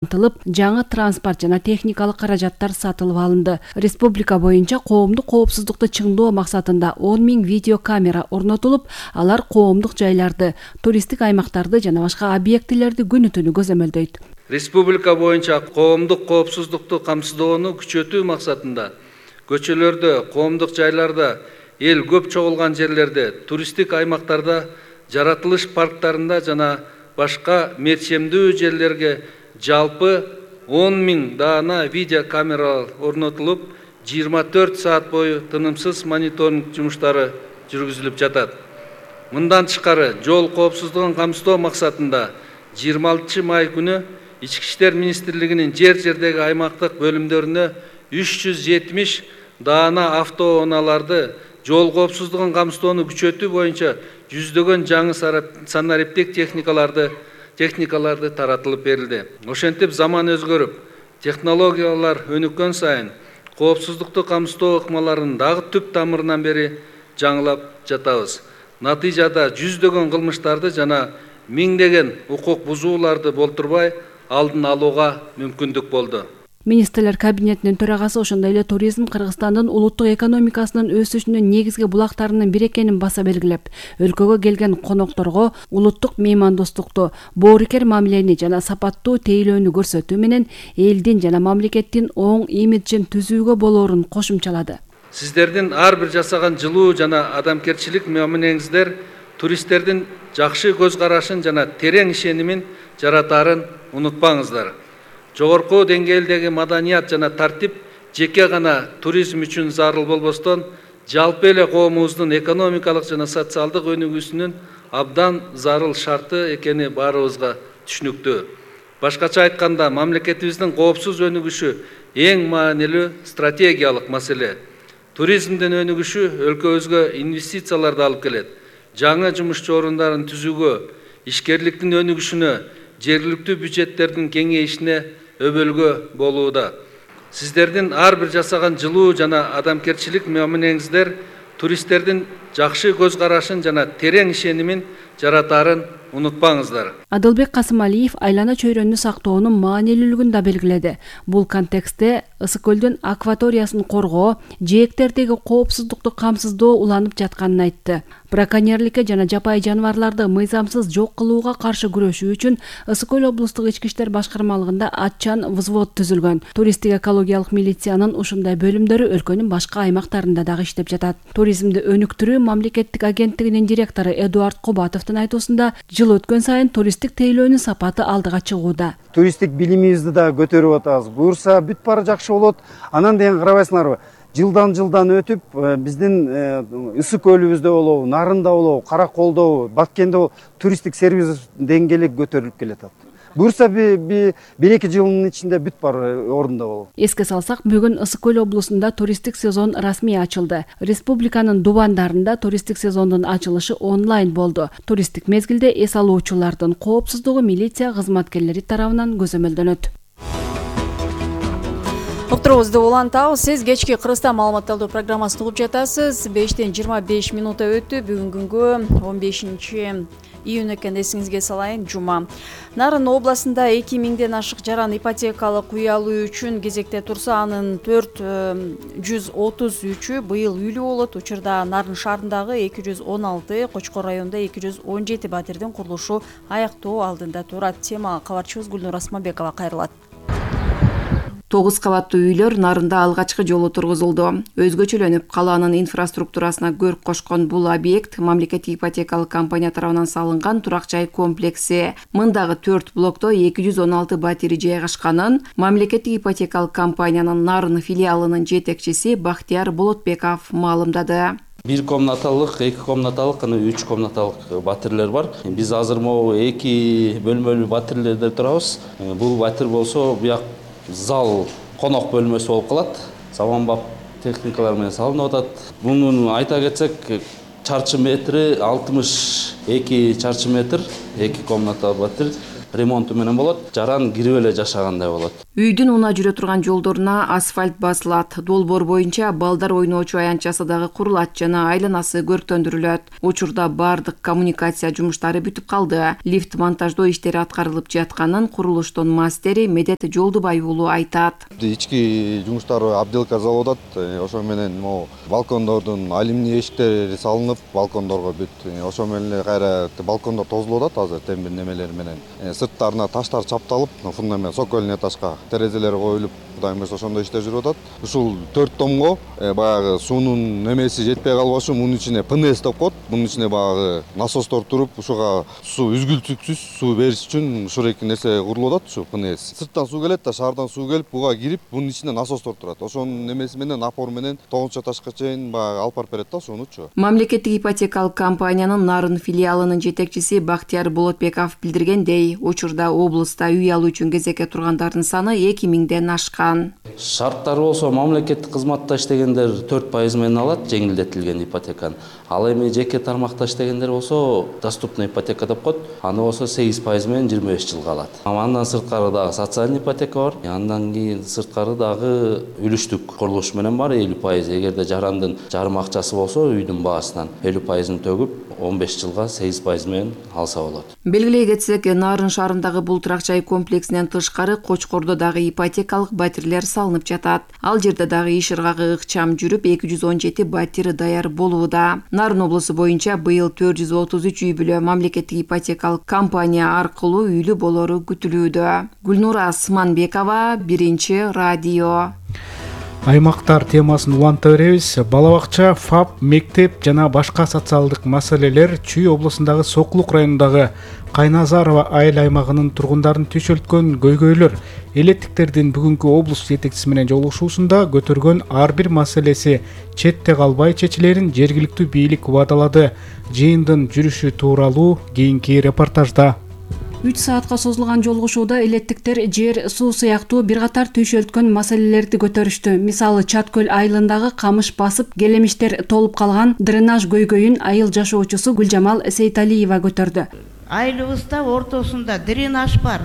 жаңы транспорт жана техникалык каражаттар сатылып алынды. Республика боюнча коомдук коопсуздукту чыңдоо максатында 10 000 видеокамера орнотулуп, алар коомдук жайларды, туристтик аймактарды жана башка объектилерди күнү-түнү көзөмөлдөйт. Республика боюнча коомдук коопсуздукту камсыздоону күчөтүү максатында көчөлөрдө, коомдук жайларда, эл көп чогулган жерлерде, туристтик аймактарда, жаратылыш парктарында жана башка мерчемдүү жерлерге жалпы 10 000 даана видеокамера орнотулуп, 24 саат бою тынымсыз мониторинг жумуштары жүргүзүлүп жатат. Мындан тышкары, жол коопсуздугун камсыздоо максатында 26 май күнү Ички иштер министрлигинин жер-жердеги аймактык бөлүмдөрүнө 370 даана автоунааларды жол коопсуздугун камсыздоону күчөтүү боюнча жүздөгөн жаңы санариптик техникаларды таратылып берилди. Ошентип заман өзгөрүп, технологиялар өнүккөн сайын коопсуздукту камсыздоо ыкмаларын дагы түп тамырынан бери жаңылап жатабыз. Натыйжада жүздөгөн кылмыштарды жана миңдеген укук бузууларды болтурбай алдын алууга мүмкүндүк болду. Министрлер кабинетинин төрагасы ошондой эле туризм Кыргызстандын улуттук экономикасынын өсүшүнүн негизги булактарынын бири экенин баса белгилеп, өлкөгө келген конокторго улуттук меймандостукту, боорукер мамилени жана сапаттуу тейлөөнү көрсөтүү менен элдин жана мамлекеттин оң имиджин түзүүгө болоорун кошумчалады. Сиздердин ар бир жасаган жылуу жана адамгерчилик мамилеңиздер туристтердин жакшы көз карашын жана терең ишенимин жаратаарын унутпаңыздар. Жогорку деңгээлдеги маданият жана тартип жеке гана туризм үчүн зарыл болбостон, жалпы эле коомубуздун экономикалык жана социалдык өнүгүүсүнүн абдан зарыл шарты экени баарыбызга түшүнүктүү. Башкача айтканда, мамлекетибиздин коопсуз өнүгүшү эң маанилүү стратегиялык маселе. Туризмдин өнүгүшү өлкөбүзгө инвестицияларды алып келет. Жаңы жумуш орундарын түзүүгө, ишкерликтин өнүгүшүнө, жергиликтүү бюджеттердин кеңейишине өбөлгө болууда. Сиздердин ар бир жасаган жылуу жана адамгерчилик мамилеңиздер туристтердин жакшы көз карашын жана терең ишенимин жаратаарын унутпаңыздар. Адылбек Касымалиев айлана чөйрөнү сактоонун маанилүүлүгүн да белгиледи. Бул контекстте Ысык көлдүн акваториясын коргоо, жээктердеги коопсуздукту камсыздоо уланып жатканын айтты. Браконьерликке жана жапайы жаныбарларды мыйзамсыз жок кылууга каршы күрөшүү үчүн Ысык көл облустук ички иштер башкармалыгында атчан взвод түзүлгөн. Туристтик экологиялык милициянын ушундай бөлүмдөрү өлкөнүн башка аймактарында дагы иштеп жатат. Туризмди өнүктүрүү мамлекеттик агенттигинин директору Эдуард Кубатовдун айтуусунда, жыл өткөн сайын туристтик тейлөөнүн сапаты алдыга чыгууда. Туристтик билимибизди да көтөрүп атабыз. Буюрса бүт баары жакшы болот. Анан деген карабайсыңарбы? Жылдан өтүп биздин Ысык көлүбүздө болобу, Нарында болобу, Караколдо, Баткенде туристтик сервис деңгээли көтөрүлүп келатат. Буюрса бир-эки жылдын ичинде бүт баары ордунда болот. Эске салсак, бүгүн Ысык көл облусунда туристтик сезон расмий ачылды. Республиканын Дубандарында туристтик сезондун ачылышы онлайн болду. Туристтик мезгилде эс алуучулардын коопсуздугу милиция кызматкерлери тарабынан көзөмөлдөнөт. Уктуруубузду улантабыз. Сиз кечки Кыргызстан маалыматталдоо программасын угуп жатасыз. 5-тен 25 минута өттү. Бүгүнгү 15 июнь экен, эсиңизге салайын, жума. Нарын областында 2000ден ашык жаран ипотекалык үй алуу үчүн кезекте турса, анын 433-ү быйыл үйлүү болот. Учурда Нарын шаарындагы 216, Кочкор районунда 217 батирдин курулушу аяктоо алдында турат. Темага кабарчыбыз Гүлнур Асмабекова кайрылат. 9 кабаттуу үйлөр Нарында алгачкы жолу тургузулду. Өзгөчөлөнүп, калаанын инфраструктурасына көрк кошкон бул объект мамлекеттик ипотекалык компания тарабынан салынган турак жай комплекси. Мындагы 4 блокто 216 батири жайгашканын мамлекеттик ипотекалык компаниянын Нарын филиалынын жетекчиси Бактияр Болотбеков маалымдады. 1 комнаталык, 2 комнаталык, 3 комнаталык батирлер бар. Биз азыр могу 2 бөлмөлүү батирлерде турабыз. Бул батир болсо буяк зал конок бөлмөсү болуп калат. Заманбап техникалар менен салынып атат. Мунун айта кетсек, чарчы метри 62 чарчы метр, 2 комнаталык батир. ремонту менен болот, жаран кирип эле жашагандай болот. Үйдүн унаа жүрө турган жолдоруна асфальт басылат, долбоор боюнча балдар ойноочу аянтчасы дагы курулат жана айланасы көрктөндүрүлөт. Учурда бардык коммуникация жумуштары бүтүп калды. Лифт монтаждоо иштери аткарылып жатканын курулуштун мастери Медет Жолдубай уулу айтат. Ички жумуштар обделка залып атат. Ошо менен могу балкондордун алюминий эшиктери салынып, балкондорго бүт. Ошо менен кайра балкондор тозулуп атат азыр темир немелер менен. Сырттарына таштар чапталып, фундамент сокольный этажга терезелер коюлуп, Кудайым буйрса ошондой иштер жүрүп атат. Ушул 4 томго баягы суунун немеси жетпей калбаш үчүн мунун ичине ПНС деп коет. Мунун ичине баягы насостор туруп, ушуга суу үзгүлтүксүз суу бериш үчүн ушул эки нерсе курулуп атат, ушу ПНС. Сырттан суу келет да, шаардан суу келип, буга кирип, мунун ичинде насостор турат. Ошонун немеси менен напор менен 9 этажга чейин баягы алып барып берет да суунучу. Мамлекеттик ипотекалык компаниянын Нарын филиалынын жетекчиси Бактияр Болотбеков билдиргендей, учурда облуста үй алуу үчүн кезекке тургандардын саны 2000ден ашкан. Шарттары болсо мамлекеттик кызматта иштегендер 4% менен алат, жеңилдетилген ипотеканы. Ал эми жеке тармакта иштегендер болсо доступный ипотека деп коет. Аны болсо 8% менен 25 жылга алат. Андан сырткары дагы социальный ипотека бар. Андан кийин сырткары дагы үлүштүк курулуш менен бар 50%. Эгерде жарандын жарым акчасы болсо үйдүн баасынан 50%ын төгүп 15 жылга 8% менен алса болот. Белгилей кетсек, Нарын шаарындагы бул турак жай комплексинен тышкары Кочкордо дагы ипотекалык батирлер салынып жатат. Ал жерде дагы иш ыргагы ыкчам жүрүп, 217 батир даяр болууда. Нарын облусу боюнча быйыл 433 үй бүлө мамлекеттик ипотекалык компания аркылуу үйлүү болору күтүлүүдө. Гүлнура Асманбекова, Биринчи радио. Аймактар темасын уланта беребиз. Бала бакча, ФАП, мектеп жана башка социалдык маселелер Чүй облусундагы Сокулук районундагы Кайназарова айыл аймагынын тургундарын түшөлткөн көйгөйлөр элеттиктердин бүгүнкү облус жетекчиси менен жолугушуусунда көтөргөн ар бир маселеси четте калбай чечилерин жергиликтүү бийлик убадалады. Жыйындын жүрүшү тууралуу кийинки репортажда. 3 саатка созулган жолугушууда элеттиктер жер, суу сыяктуу бир катар түйшөлткөн маселелерди көтөрүштү. Мисалы, Чаткөл айылындагы камыш басып, келемиштер толуп калган дренаж көйгөйүн айыл жашоочусу Гүлжамал Сейталиева көтөрдү. Айылыбызда ортосунда дренаж бар.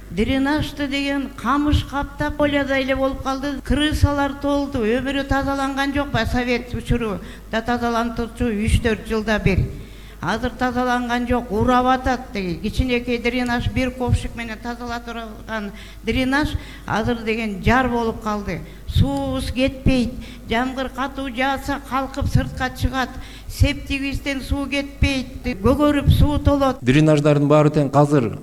Дренажды деген камыш каптап полядай эле болуп калды. Крысалар толду. Өмүрү тазаланган жок ба? Совет учуру да тазалантырчу 3-4 жылда бир. Азыр тазаланган жок, урап атат. Кичинекей дренаж бир ковшик менен тазалатырган дренаж азыр деген жар болуп калды. Суубуз кетпейт. Жамгыр катуу жааса калкып сыртка чыгат. Септигибизден суу кетпейт. Көгөрүп суу толот. Дренаждардын баары тең азыр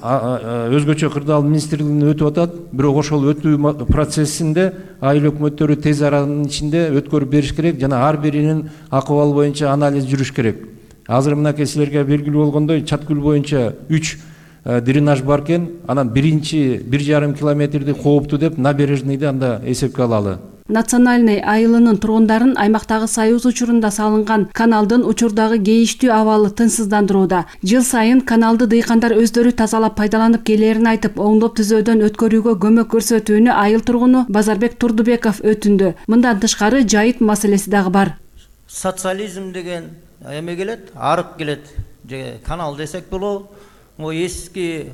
өзгөчө кырдаал министрлигинен өтүп атат. Бирок ошол өтүү процессинде айыл өкмөттөрү тез аранын ичинде өткөрүп бериш керек жана ар биринин акыбалы боюнча анализ жүрүш керек. Азыр мынакей силерге белгилүү болгондой Чаткөл боюнча 3 дренаж бар экен. Анан биринчи 1,5 километрди кооптуу деп набережныйды анда эсепке алалы. Национальный айылынын тургундарын аймактагы Союз учурунда салынган каналдын учурдагы кейиштүү абалы тынчсыздандырууда. Жыл сайын каналды дыйкандар өздөрү тазалап пайдаланып келерин айтып, оңдоп түзөөдөн өткөрүүгө көмөк көрсөтүүнү айыл тургуну Базарбек Турдубеков өтүндү. Мындан тышкары жайыт маселеси дагы бар. Социализм деген эме келет, арык келет. Канал десек болобу, эски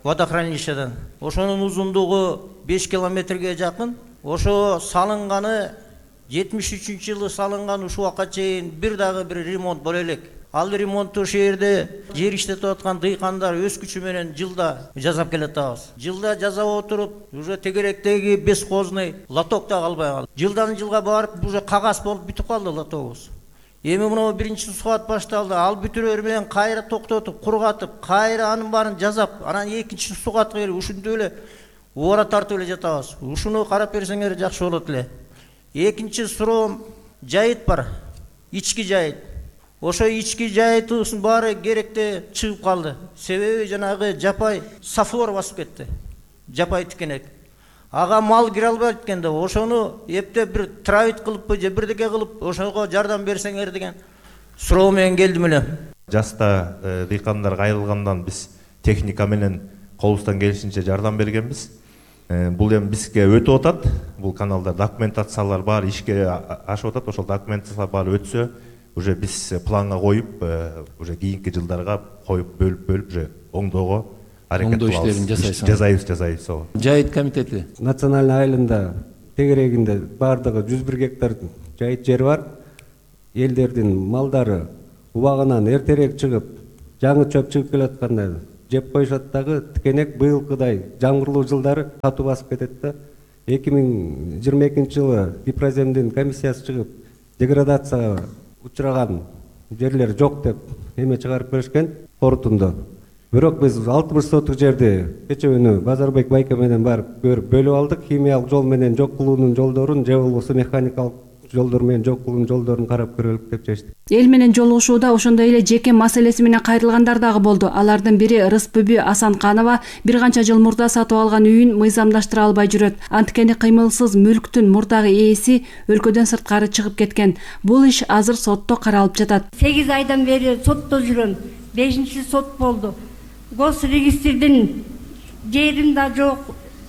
водохранилищеден. Ошонун узундугу 5 километрге жакын. Ошо салынганы 73-жылы салынган, ушул убакка чейин бир ремонт боло элек. Ал ремонтту ошол жерде жер иштетип аткан дыйкандар өз күчү менен жылда жасап келет атабыз. Жылда жасап отуруп, уже тегеректеги бескозный лоток да калбай калды. Жылдан жылга барып, уже кагаз болуп бүтүп калды лотогубуз. Эми мына биринчи суат башталды. Ал бүтүрөр менен кайра токтотуп, кургатып, кайра анын баарын жасап, анан экинчи суатка келип ушинтип эле убара тартып эле жатабыз. Ушуну карап берсеңер жакшы болот эле. Экинчи суроом жайыт бар. Ички жайыт. Ошо ички жайытыбыздын баары керекте чыгып калды. Себеби жанагы жапай сафлор басып кетти. Жапай тикенек. Ага мал кире албайт экен деп, ошону эптеп бир травит кылыппы же бирдеке кылып, ошого жардам берсеңер деген суроо менен келдим эле. Жаста дыйкандарга айрылгандан биз техника менен колубуздан келишинче жардам бергенбиз. Бул эми бизге өтүп атат. Бул каналда документациялар бар, ишке ашып атат. Ошол документациялар баары өтсө, уже биз планга коюп, уже кийинки жылдарга коюп бөлүп уже оңдоого аракет оңдоо кылабыз. иштерин Жасайбыз ооба. Жайыт комитети Национальный айылында тегерегинде бардыгы 101 гектар жайыт жер бар. Элдердин малдары убагынан эртерээк чыгып, жаңы чөп чыгып келатканда жеп коюшат дагы тикенек быйылкыдай жамгырлуу жылдары катуу басып кетет да. 2022 жылы Гипроземдин комиссиясы чыгып, деградацияга учураган жерлер жок деп эме чыгарып беришкен корутунду. Бирок биз 60 соттук жерди кече күнү Базарбек байке менен барып көрүп бөлүп алдык. Химиялык жол менен жок кылуунун жолдорун, же болбосо механикалык жолдор менен жок кылуунун жолдорун карап көрөлүк деп чечтик. Эл менен жолугушууда ошондой эле жеке маселеси менен кайрылгандар дагы болду. Алардын бири Рыспүбү Асанканова бир канча жыл мурда сатып алган үйүн мыйзамдаштыра албай жүрөт. Анткени кыймылсыз мүлктүн мурдагы ээси өлкөдөн сырткары чыгып кеткен. Бул иш азыр сотто каралып жатат. 8 айдан бери сотто жүрөм. 5-чи сот болду. Госрегистрдин жерим да жок,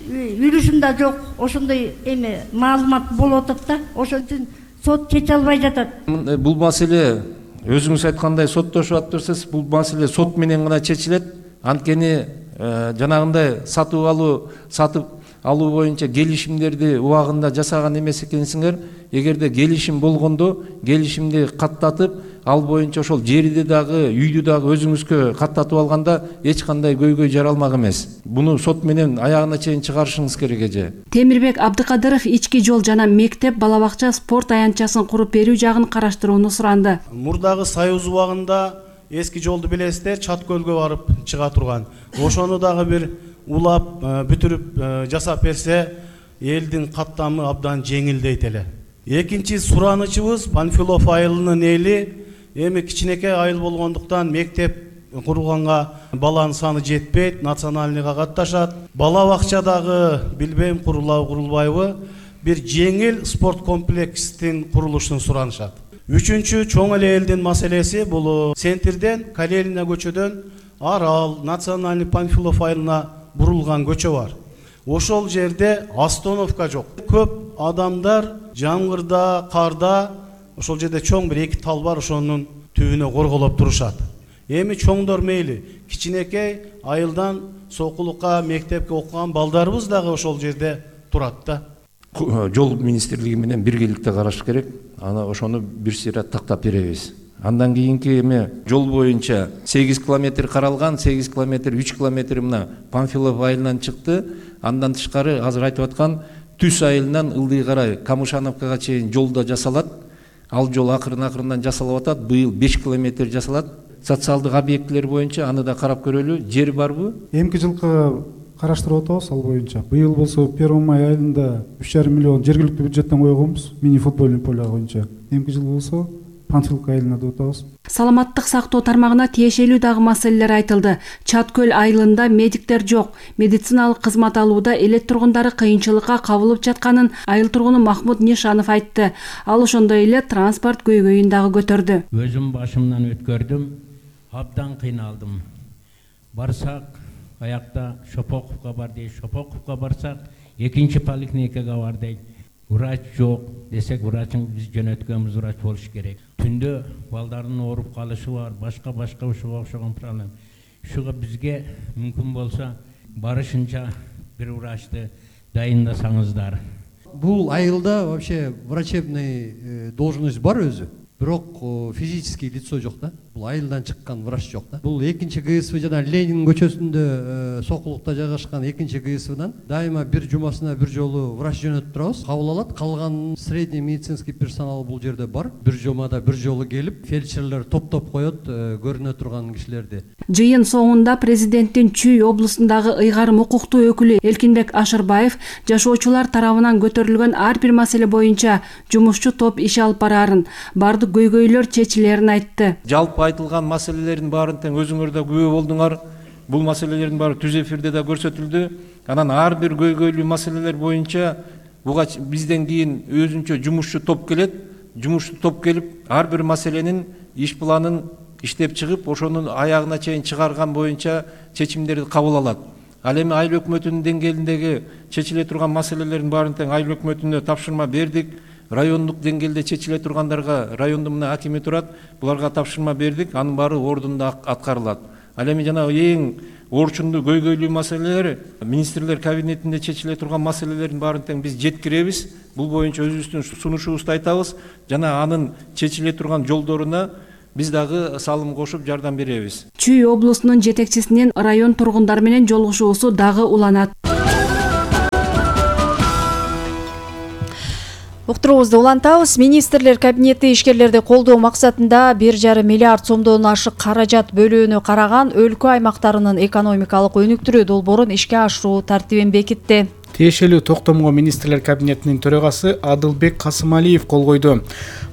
үлүшүм да жок. Ошондой эме маалымат болуп атат да. Ошон үчүн сот чече албай жатат. Бул маселе өзүңүз айткандай соттошуп атырсыз. Бул маселе сот менен гана чечилет. Анткени жанагындай сатып алуу боюнча келишимдерди убагында жасаган эмес экенсиңер. Эгерде келишим болгондо келишимди каттатып, ал боюнча ошол жерди дагы, үйдү дагы өзүңүзгө каттатып алганда эч кандай көйгөй жаралмак эмес. Буну сот менен аягына чейин чыгарышыңыз керек эже. Темирбек Абдыкадыров ички жол жана мектеп, бала бакча, спорт аянтчасын куруп берүү жагын караштырууну суранды. Мурдагы Союз убагында эски жолду билесиздер, Чаткөлгө барып чыга турган. Ошону дагы бир улап, бүтүрүп жасап берсе, элдин каттамы абдан жеңилдейт эле. Экинчи суранычыбыз Панфилов айылынын эли эми кичинекей айыл болгондуктан мектеп курулганга баланын саны жетпейт, национальныйга катташат. Бала бакчадагы билбейм курулабы курулбайбы, бир жеңил спорт комплекстин курулушун суранышат. Үчүнчү чоң эле элдин маселеси бул центрден Калелина көчөдөн Арал, национальный Панфилов айылына бурулган көчө бар. Ошол жерде остановка жок. Көп адамдар жамгырда, карда ошол жерде чоң бир 2 тал бар, ошонун түбүнө корголоп турушат. Эми чоңдор мейли, кичинекей айылдан сокулукка, мектепке окуган балдарыбыз дагы ошол жерде турат да. Жол министрлиги менен биргеликте караш керек. Ана ошону бир сыйра тактап беребиз. Андан кийинки эме жол боюнча 8 километр каралган, 8 километр, 3 километр мына Панфилов айылынан чыкты. Андан тышкары азыр айтып аткан Түс айылынан Ылдый карай Камышановкага чейин жолда жасалат. Ал жол акырын-акырындан жасалып атат. Быйыл 5 километр жасалат. Социалдык объектилер боюнча аны да карап көрөлү. Жер барбы? Эмки жылкы караштырып атабыз ал боюнча. Быйыл болсо 1 май айында 3,5 миллион жергиликтүү бюджеттен койгонбуз мини футбольный поле боюнча. Эмки жыл болсо Панфилов айылына деп атабыз. Саламаттык сактоо тармагына тиешелүү дагы маселелер айтылды. Чаткөл айылында медиктер жок. Медициналык кызмат алууда элет тургундары кыйынчылыкка кабылып жатканын айыл тургуну Махмуд Нишанов айтты. Ал ошондой эле транспорт көйгөйүн дагы көтөрдү. Өзүм башымдан өткөрдүм, абдан кыйналдым. Барсак, аякта Шопоковго бар дейт, Шопоковго барсак, экинчи поликлиникага бар дейт. Врач жок десек, врачың биз жөнөткөнбүз, врач болуш керек. Түндө балдардын ооруп калышы бар, башка ушуга окшогон проблема. Ушуга бизге мүмкүн болсо барышынча бир врачты дайындасаңыздар. Бул айылда вообще врачебный должность бар өзү. Бирок физический лицо жок да. Бул айылдан чыккан врач жок да. Бул экинчи ГСВ жана Ленин көчөсүндө сокулукта жайгашкан экинчи ГСВдан дайыма бир жумасына бир жолу врач жөнөтүп турабыз. Кабыл алат. Калган средний медицинский персонал бул жерде бар. Бир жумада бир жолу келип, фельдшерлер топтоп коет көрүнө турган кишилерди. Жыйын соңунда президенттин Чүй облусундагы ыйгарым укуктуу өкүлү Элкинбек Ашырбаев жашоочулар тарабынан көтөрүлгөн ар бир маселе боюнча жумушчу топ иш алып барарын, бардык көйгөйлөр чечилерин айтты. Жалпы айтылган маселелердин баарын тең өзүңөр да күбө болдуңар. Бул маселелердин баары түз эфирде да көрсөтүлдү. Анан ар бир көйгөйлүү маселелер боюнча буга бизден кийин өзүнчө жумушчу топ келет. Жумушчу топ келип ар бир маселенин иш планын иштеп чыгып, ошонун аягына чейин чыгарган боюнча чечимдерди кабыл алат. Ал эми айыл өкмөтүнүн деңгээлиндеги чечиле турган маселелердин баарын тең айыл өкмөтүнө тапшырма бердик. Райондук деңгээлде чечиле тургандарга райондун мына акими турат, буларга тапшырма бердик, анын баары ордунда аткарылат. Ал эми жана эң орчундуу көйгөйлүү маселелер министрлер кабинетинде чечиле турган маселелердин баарын тең биз жеткиребиз. Бул боюнча өзүбүздүн сунушубузду айтабыз жана анын чечиле турган жолдоруна биз дагы салым кошуп жардам беребиз. Чүй облусунун жетекчисинин район тургундары менен жолугушуусу дагы уланат. Уктуруубузду улантабыз. Министрлер кабинети ишкерлерди колдоо максатында 1,5 миллиард сомдон ашык каражат бөлүүнү караган өлкө аймактарынын экономикалык өнүктүрүү долбоорун ишке ашыруу тартибин бекитти. Тиешелүү токтомго министрлер кабинетинин төрагасы Адылбек Касымалиев кол койду.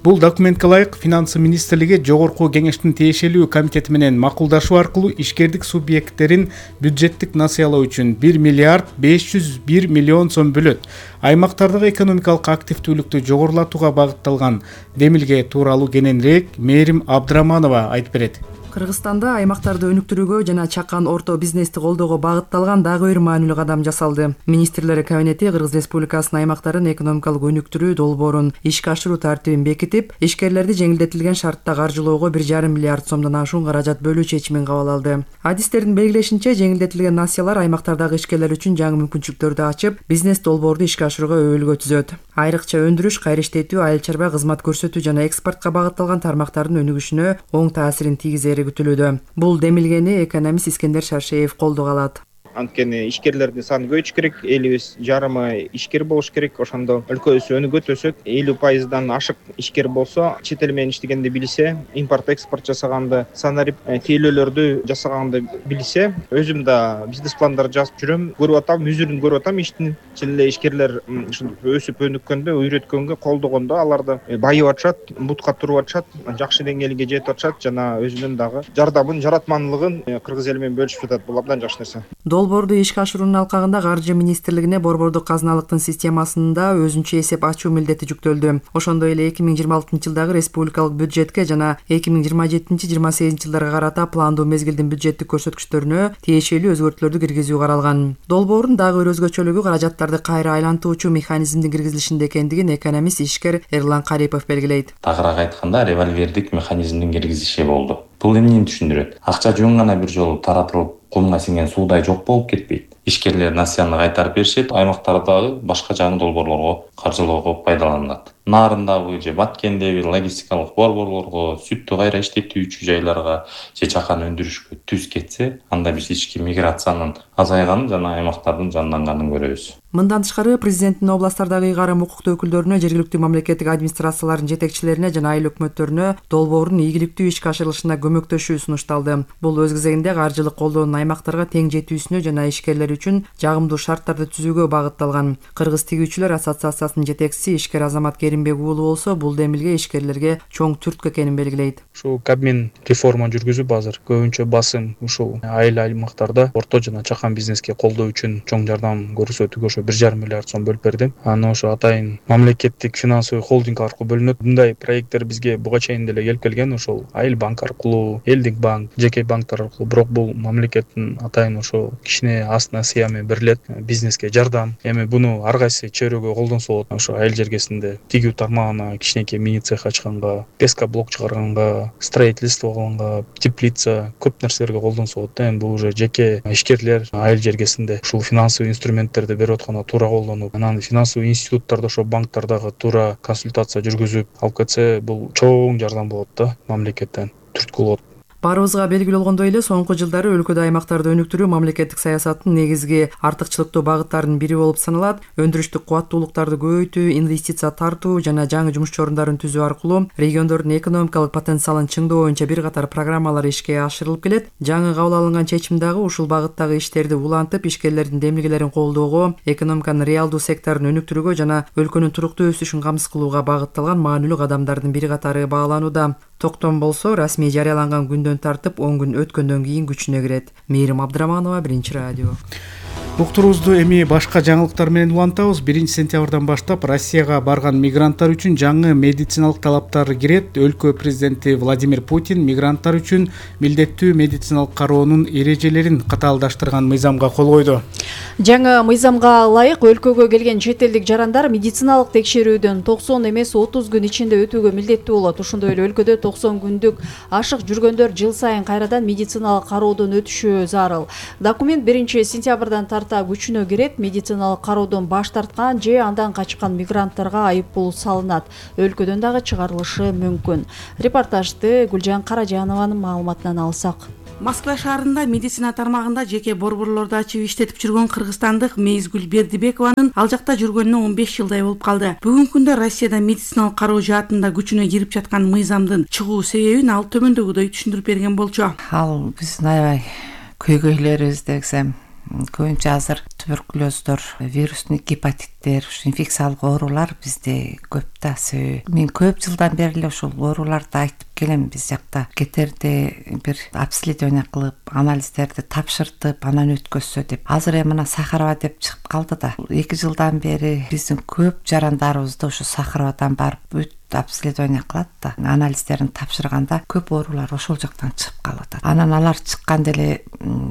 Бул документке ылайык Финансы министрлиги жогорку кеңештин тиешелүү комитети менен макулдашуу аркылуу ишкердик субъекттерин бюджеттик насыялоо үчүн 1 миллиард 501 миллион сом бөлөт. Аймактардагы экономикалык активдүүлүктү жогорулатууга багытталган демилге тууралуу кененирээк Мээрим Абдыраманова айтып берет. Кыргызстанда аймактарды өнүктүрүүгө жана чакан орто бизнести колдоого багытталган дагы бир маанилүү кадам жасалды. Министрлер кабинети Кыргыз Республикасынын аймактарын экономикалык өнүктүрүү долбоорун ишке ашыруу тартибин бекитип, ишкерлерди жеңилдетилген шартта каржылоого 1,5 миллиард сомдон ашуун каражат бөлүү чечимин кабыл алды. Адистердин белгилешинче, жеңилдетилген насыялар аймактардагы ишкерлер үчүн жаңы мүмкүнчүлүктөрдү ачып, бизнес долбоорду ишке ашырууга өбөлгө түзөт. Айрыкча өндүрүш, кайра иштетүү, айыл чарба кызмат көрсөтүү жана экспортко багытталган тармактардын өнүгүшүнө оң таасирин тийгизери күтүлүүдө. Бул демилгени экономист Искендер Шаршеев колдого алат. Анткени ишкерлердин саны көбөйүш керек, элибиз жарымы ишкер болуш керек. Ошондо өлкөбүз өнүгөт, өсөт. 50%дан ашык ишкер болсо, чет эл менен иштегенди билсе, импорт экспорт жасаганды, санарип тейлөөлөрдү жасаганды билсе, өзүм да бизнес пландар жазып жүрөм, көрүп атам, үзүрүн көрүп атам иштин. Чын эле ишкерлер ушинтип өсүп өнүккөндө, үйрөткөнгө, колдогондо аларды байып атышат, бутка туруп атышат, жакшы деңгээлге жетип атышат жана өзүнүн дагы жардамын, жаратманлыгын кыргыз эли менен бөлүшүп жатат. Бул абдан жакшы нерсе. Долбоорду ишке ашыруунун алкагында Каржы министрлигине борбордук казыналыктын системасында өзүнчө эсеп ачуу милдети жүктөлдү. Ошондой эле 2026-жылдагы республикалык бюджетке жана 2027-28 жылдарга карата пландуу мезгилдин бюджеттик көрсөткүчтөрүнө тиешелүү өзгөртүүлөрдү киргизүү каралган. Долбоордун дагы бир өзгөчөлүгү каражаттарды кайра айлантуучу механизмдин киргизилишинде экендигин экономист ишкер Эрлан Карипов белгилейт. Тагыраак айтканда, револьвердик механизмдин киргизиши болду. Бул эмнени түшүндүрөт? Акча жөн гана бир жолу таратылып, кумга сиңген суудай жок болуп кетпейт. Ишкерлер насыяны кайтарып беришет, аймактардагы башка жаңы долбоорлорго каржылоого пайдаланылат. Нарындагы же Баткендеги логистикалык борборлорго, сүттү кайра иштетүүчү жайларга же чакан өндүрүшкө түз кетсе, анда биз ички миграциянын азайганын жана аймактардын жанданганын көрөбүз. Мындан тышкары президенттин областтардагы ыйгарым укуктуу өкүлдөрүнө, жергиликтүү мамлекеттик администрациялардын жетекчилерине жана айыл өкмөттөрүнө долбоордун ийгиликтүү ишке ашырылышына көмөктөшүү сунушталды. Бул өз кезегинде каржылык колдоонун аймактарга тең жетүүсүнө жана ишкерлер үчүн жагымдуу шарттарды түзүүгө багытталган. Кыргыз тигүүчүлөр ассоциациясынын жетекчиси ишкер Азамат Керимбек уулу болсо, бул демилге ишкерлерге чоң түрткү экенин белгилейт. Ушул Кабмин реформа жүргүзүп, азыр көбүнчө басым ушул айыл аймактарда орто жана чакан бизнеске колдоо үчүн чоң жардам көрсөтүүгө ошо 1,5 миллиард сом бөлүп бердим. Аны ошо атайын мамлекеттик финансовый холдинг аркылуу бөлүнөт. Мындай проекттер бизге буга чейин деле келип келген, ошол Айыл банк аркылуу, Элдик банк, жеке банктар аркылуу. Бирок бул мамлекеттин атайын ошо кичине астына сыями берилет, бизнеске жардам. Эми буну ар кайсы чөйрөгө колдонсо болот. Ошо айыл жергесинде тигүү тармагына кичинекей мини цех ачканга, пескоблок чыгарганга, строительство кылганга, теплица, көп нерселерге колдонсо болот. Эми бул уже жеке ишкерлер айыл жергесинде ушул финансовый инструменттерди берип атканда туура колдонуп, анан финансовый институттарда, ошо банктардагы туура консультация жүргүзүп алып кетсе, бул чоң жардам болот да, мамлекеттен түрткү болот. Баарыбызга белгилүү болгондой эле, соңку жылдары өлкөдө аймактарды өнүктүрүү мамлекеттик саясаттын негизги артыкчылыктуу багыттарынын бири болуп саналат. Өндүрүштүк кубаттуулуктарды көбөйтүү, инвестиция тартуу жана жаңы жумуш орундарын түзүү аркылуу региондордун экономикалык потенциалын чыңдоо боюнча бир катар программалар ишке ашырылып келет. Жаңы кабыл алынган чечим дагы ушул багыттагы иштерди улантып, ишкерлердин демилгелерин колдоого, экономиканын реалдуу секторун өнүктүрүүгө жана өлкөнүн туруктуу өсүшүн камсыз кылууга багытталган маанилүү кадамдардын бир катары бааланууда. Токтом болсо, расмий жарыяланган күндөн тартып 10 күн өткөндөн кийин күчүнө кирет. Мээрим Абдыраманова, Биринчи радио. уктуруубузду эми башка жаңылыктар менен улантабыз. 1-сентябрдан баштап Россияга барган мигранттар үчүн жаңы медициналык талаптар кирет. Өлкө президенти Владимир Путин мигранттар үчүн милдеттүү медициналык кароонун эрежелерин катаалдаштырган мыйзамга кол койду. Жаңы мыйзамга ылайык өлкөгө келген чет элдик жарандар медициналык текшерүүдөн 90 эмес 30 күн ичинде өтүүгө милдеттүү болот. Ошондой эле өлкөдө 90 күндүк ашык жүргөндөр жыл сайын кайрадан медициналык кароодон өтүшү зарыл. Документ 1-сентябрдан тарта күчүнө кирет. Медициналык кароодон баш тарткан же андан качкан мигранттарга айыппул салынат. Өлкөдөн дагы чыгарылышы мүмкүн. Репортажды Гүлжан Каражанованын маалыматынан алсак. Москва шаарында медицина тармагында жеке борборлорду ачып иштетип жүргөн кыргызстандык Мейзгүл Бердибекованын ал жакта жүргөнүнө 15 жылдай болуп калды. Бүгүнкү күндө Россияда медициналык кароо жаатында күчүнө кирип жаткан мыйзамдын чыгуу себебин ал төмөндөгүдөй түшүндүрүп берген болчу. Ал биздин аябай көйгөйлөрүбүз десем, көбүнчө азыр туберкулездор, вирустный гепатиттер, инфекциялык оорулар бизде көп да. Мен көп жылдан бери эле ушул ооруларды айтып келем. Биз жакта кетерде бир обследование кылып, анализдерди тапшыртып, анан өткөзсө деп. Азыр эми мына Сахарова деп чыгып калды да. 2 жылдан бери биздин көп жарандарыбызды ушу Сахаровадан барып обследование кылат да, анализдерин тапшырганда көп оорулар ошол жактан чыгып калып атат. Анан алар чыкканда эле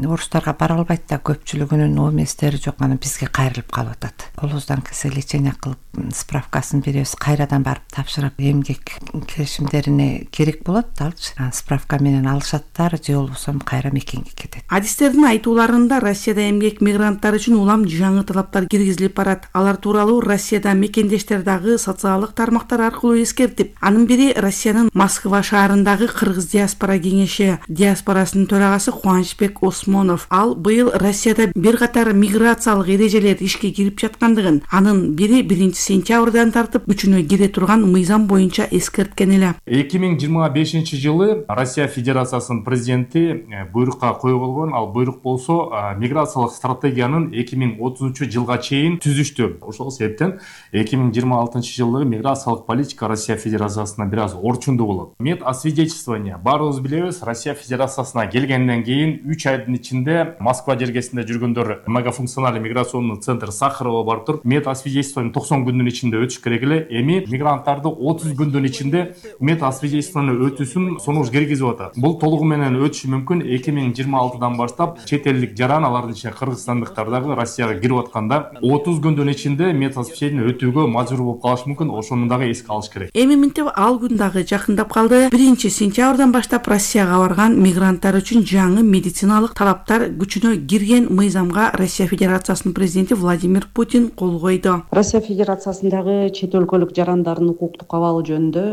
орустарга бара албайт да, көпчүлүгүнүн ОМСтери жок, анан бизге кайрылып калып атат. Колубуздан келсе лечение кылып, справкасын беребиз, кайрадан барып тапшырып, эмгек келишимдерине керек болот алчы. Справка менен алышаттар, же болбосо кайра мекенге кетет. Адистердин айтууларында Россияда эмгек мигранттар үчүн улам жаңы талаптар киргизилип барат. Алар тууралуу Россияда мекендештер дагы социалдык тармактар аркылуу эскертип, анын бири Россиянын Москва шаарындагы кыргыз диаспора кеңеши диаспорасынын төрагасы Кубанычбек Осмонов. Ал быйыл Россияда бир катар миграциялык эрежелер ишке кирип жаткандыгын, анын бири 1-сентябрдан тартып күчүнө кире турган мыйзам боюнча эскерткен эле. 2025-жылы Россия Федерациясынын президенти буйрукка койгон. Ал буйрук болсо миграциялык стратегиянын 2030-жылга чейин түзүштү. Ошол себептен 2026-жылы миграциялык политика Россия Федерациясына бир аз орчундуу болот. Медосвидетельствование баарыбыз билебиз, Россия Федерациясына келгенден кийин 3 айдын ичинде Москва жергесинде жүргөндөр многофункциональный миграционный центр Сахарова барып туруп, медосвидетельствование 90 күндүн ичинде өтүш керек эле. Эми мигранттарды 30 күндүн ичинде медосвидетельствование өтүүсүн сунуш киргизип атат. Бул толугу менен өтүшү мүмкүн. 2026-дан баштап чет элдик жаран, алардын ичинде кыргызстандыктар дагы Россияга кирип атканда 30 күндүн ичинде медосвидетельствование өтүүгө мажбур болуп калышы мүмкүн. Ошону дагы эске алыш керек. Эми минтип ал күн дагы жакындап калды. 1-сентябрдан баштап Россияга барган мигранттар үчүн жаңы медициналык талаптар күчүнө кирген мыйзамга Россия Федерациясынын президенти Владимир Путин кол койду. Россия Федерациясындагы чет өлкөлүк жарандардын укуктук абалы жөнүндө